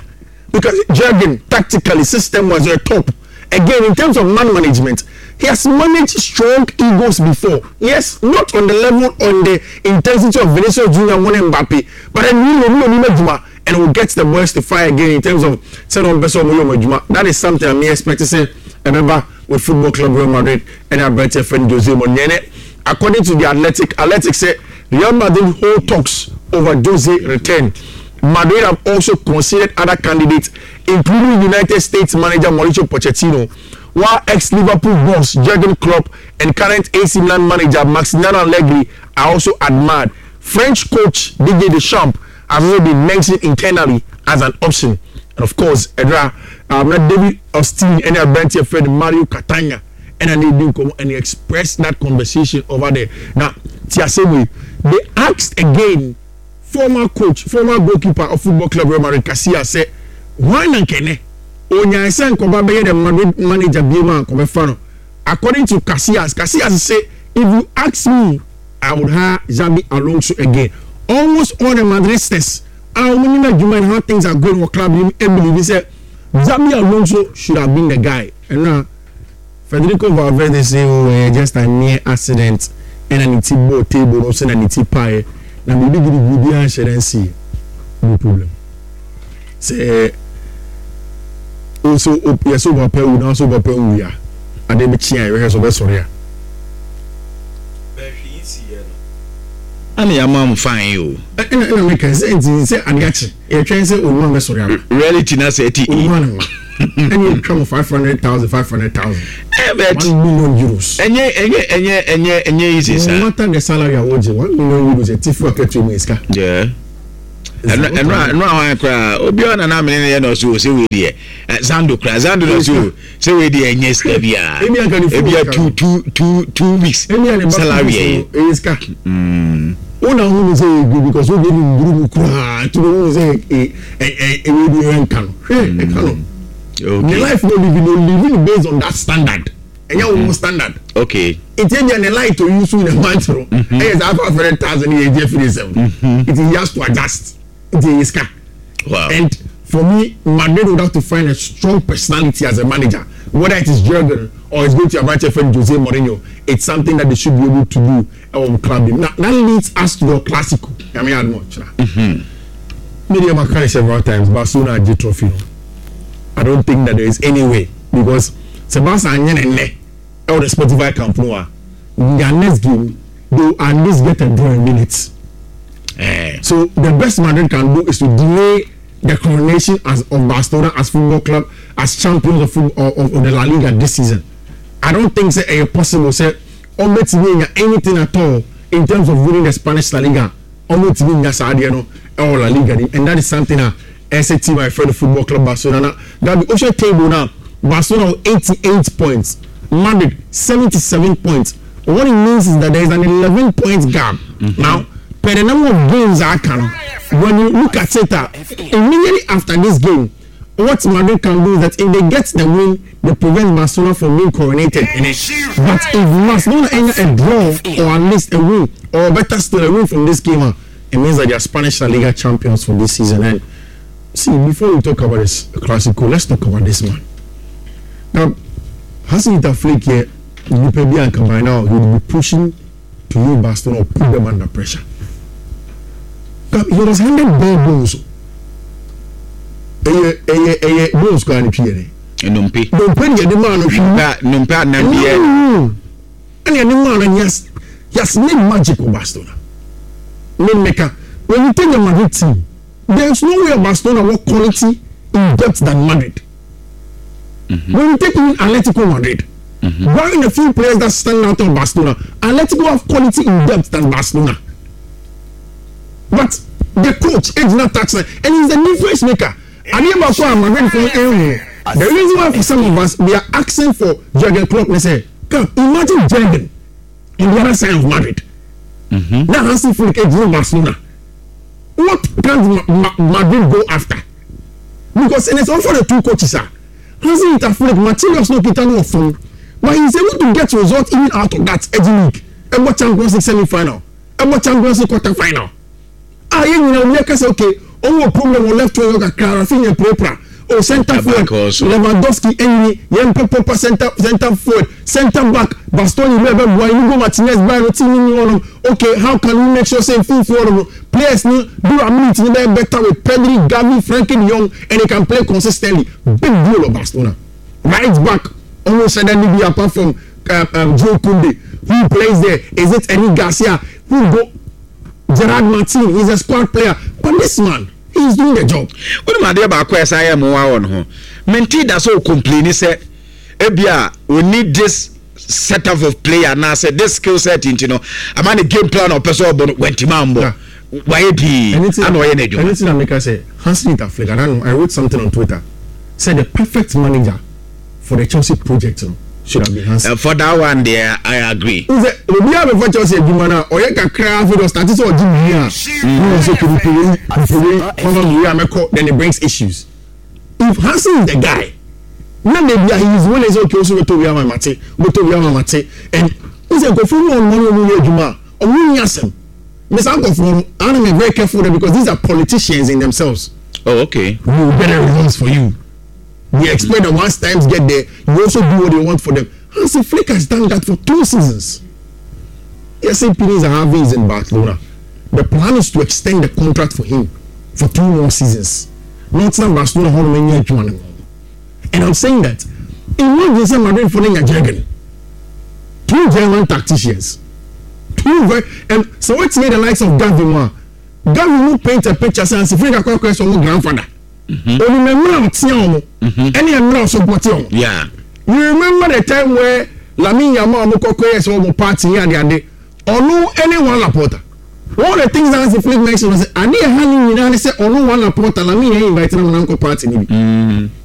Because Jurgen tactically system was a top. Again, in terms of man management, he has managed strong egos before. Yes, not on the level on the intensity of Vinicius Junior and Mbappe, but then we know adwuma and will get the boys to fire again in terms of sɛ ɔmpɛ sɛ ɔmo yɛ ɔmo adwuma. That is something I'm expect to say. Remember with Football Club Real Madrid and aberanteɛ friend Jose Mourinho. According to the Athletic, Athletic say Real Madrid hold talks over Jose return. Madrid have also considered other candidates, including United States manager Mauricio Pochettino, while ex-Liverpool boss Jurgen Klopp and current AC Milan manager Maximiliano Allegri are also admired. French coach Didier Deschamps has also been mentioned internally as an option. And of course, Edra, not David Ornstein and aberanteɛ friend Mario Catania and I need and he expressed that conversation over there. Now, Tiasewe, they asked again former coach, former goalkeeper of Football Club Real Madrid, Casillas, said, why na nkene? Onya sɛ nkɔba bɛyɛ the Madrid manager bi ma nkɔbɛfa no. According to Casillas, Casillas say, if you ask me, I would hire Xabi Alonso again. Almost all the Madridistas a wɔn nim adwuma and how things are going wɔ club nim believe sɛ Xabi Alonso should have been the guy. Ɛno a Federico Valverde say oh ɛyɛ just a mere accident ɛna ne ti bɔɔ table no so na ne ti paeɛ na biribi gidigidi biara nhyɛ da nsiiɛ. No problem. Sɛ o so o yɛ sɛ o papa awu na so o papa nwu a adeɛ bɛkye a yɛbɛhwɛ sɛ ɔbɛsɔre a. Ɛna yɛama mo fine o. Ɛna ɛna meka sɛ nti sɛ adeɛ akye yɛtwɛn sɛ onua bɛsɔre aba. Reality na sɛ ɛti. Onua no ɛna yɛtwa mo 500,000 500,000. Ɛbɛt. €1 million. Ɛnyɛ ɛnyɛ ɛnyɛ ɛnyɛ ɛnyɛ easy saa. No matter the salary a wɔgye €1 million ɛti fi akatua mu yɛ sika. Yeah. Ɛno ɛno a ɛno a hwan koraa obiara na n'amene no yɛ na ɔso o sɛ wei deɛ Zando koraa Zando na ɔso o sɛ wei deɛ ɛnyɛ sika biara ebi a two two two two weeks salary yɛ ɛyɛ sika wo na ho sɛ ɛyɛ good because wo deɛ ne nduru mu koraa nti wo sɛ ɛ ɛ ɛwɛ bi ɛyɛ nka no hwɛ ɛka no ne life no live no living based on that standard ɛnyɛ wo standard okay nti ebia ne light oyi so ne month no ɛyɛ saa 500,000 yɛ egye firi nsɛm nti he has to adjust nti ɛyɛ sika. Wow. And for me, Madrid would have to find a strong personality as a manager, whether it is Jurgen or it's going to aberanteɛ friend Jose Mourinho. It's something that they should be able to do. Ɛwɔ club mu. Now that leads us to the Clasico. Nyame yɛ adom ɔkyena. Me deɛ maka no several times, Barcelona agye trophy no. I don't think that there is any way because sɛ Barca anyɛ ne nnɛ ɛwɔ the Spotify Camp Nou a, their next game they will at least get a draw and win it. Eh. So the best Madrid can do is to delay the coronation as of Barcelona as football club as champions of football of the La Liga this season. I don't think say ɛyɛ possible sɛ ɔmɛtumi nya anything at all in terms of winning the Spanish La Liga. Ɔmɛtumi nya saa adeɛ no ɛwɔ La Liga ni and that is something a ɛsɛ team a yɛfrɛ no football club Barcelona na Gabi wohwɛ table no a Barcelona wɔ 88 points, Madrid 77 points. What it means is that there is an 11 point gap. Now, per the number of games a aka no, when you look at it a, immediately after this game, what Madrid can do is that if they get the win, they prevent Barcelona from being coronated in it. But if Barcelona enya a draw or at least a win, or better still a win from this game a, it means that they are Spanish La Liga champions for this season. And see, before we talk about this Clasico, let's talk about this man. Now, Hansi-Dieter Flick yɛ nipa bi a nka by now he would be pushing to leave Barcelona or put them under pressure. Now, he was handed bare bones. Ɛyɛ ɛyɛ ɛyɛ bones koraa ne twi yɛ dɛ. Nnompe. Nnompe ne yɛde maa no hwee. Nnompe anan bi yɛ. Ɛna yɛde maa no he has he has made magic wɔ Barcelona. Me meka when you take the Madrid team there is no way Barcelona wɔ quality in depth than Madrid. When you take even Atletico Madrid, barring a few players that stand out of Barcelona, Atletico have quality in depth than Barcelona. But the coach, egyina touch line, and he's the difference maker. Adeɛ baako a Madrid fo ehu, the reason why for some of us we are asking for Jurgen Klopp ne sɛ, come imagine Jurgen on the other side of Madrid. Na Hansi Flick egyina Barcelona. What can't Ma Ma Madrid go after? Because and it's all for the two coaches ah. Hansi Flick materials no kita no wɔ fam, but he is able to get results even out of that ɛgye league, ɛbɔ Champions League semi final, ɛbɔ Champions League quarter final. A yɛn nyinaa obi aka sɛ okay, ɔmo wɔ problem wɔ left wing hɔ kakra, Rafinha pirapira, oh center forward Lewandowski ɛnyini, yɛn pɛ proper center center forward, center back Bastoni bɛɛ bɛ boa, Inigo Martinez baa no team ni hɔ nom, okay how can we make sure sɛ mfimfini hɔ nom no players no durability no bɛyɛ better with Pedri, Gavi, Frenkie de Jong and they can play consistently. Big deal wɔ Barcelona. Right back ɔmo nhyɛ da ni bi apart from Jules Kounde who plays there, is it Eric Garcia who go Gerard Martin, he's a squad player but this man he is doing the job. Wonim adeɛ baako a ɛsan yɛ mmoa wɔ ne ho? Mentee da sɛ ɔcomplaini sɛ ebia ɔnni this set up of player anaasɛ this skill set nti no ama ne game plan a ɔpɛ sɛ ɔbɔ no wantumi ammɔ. Wayɛ pii ana ɔyɛ n'adwuma. Ɛno nti na meka sɛ Hansi Dieter Flick, and I know I wrote something on Twitter, sɛ the perfect manager for the Chelsea project no should have been Hansi. For that one deɛ I agree. N sɛ obiara bɛfa Chelsea adwuma no a ɔyɛ kakra afei de ɔstarte sɛ ɔgye biribi a na ɔwɔ sɛ okay mepɛ wei mepɛ wei mama me wei a mɛkɔ then it brings issues. If Hansi is the guy na baabi a he is willing sɛ okay wo so wobɛtɔ wei ama me mate wobɛtɔ wei ama me mate and n sɛ nkurɔfoɔ bi wɔ hɔ nom a ɔne wɔn yɛ adwuma a wɔn nni asɛm. Me saa nkurɔfoɔ no I am very careful there because these are politicians in themselves. Oh okay. We will get a results for you. They expect that once times get there, you also do what they want for them. Hansi Flick has done that for two seasons. Yes, Pini Zahavi is in Barcelona. The plan is to extend the contract for him for two more seasons. Not now Barcelona how many years. And I'm saying that imagine say Madrid for Jurgen. Two German tacticians. Two very and so what's the likes of Gavi mo Gavi will paint a picture saying Hansi Flick akɔ akɔ sɛ grandfather. Onim mmerɛ a ɔtea wɔn ɛne mmerɛ a ɔsopɔte wɔn. You remember the time where Lamine Yamal ɔmo kɔkɔ yɛ sɛ ɔmo party ní ade ade, ɔno ɛne Juan Laporta. One of the things that Hansi Flick mentioned was ade ɛha ne nyinaa ne sɛ ɔno Juan Laporta, Lamine yɛn invite na mo na nkɔ party ni bi.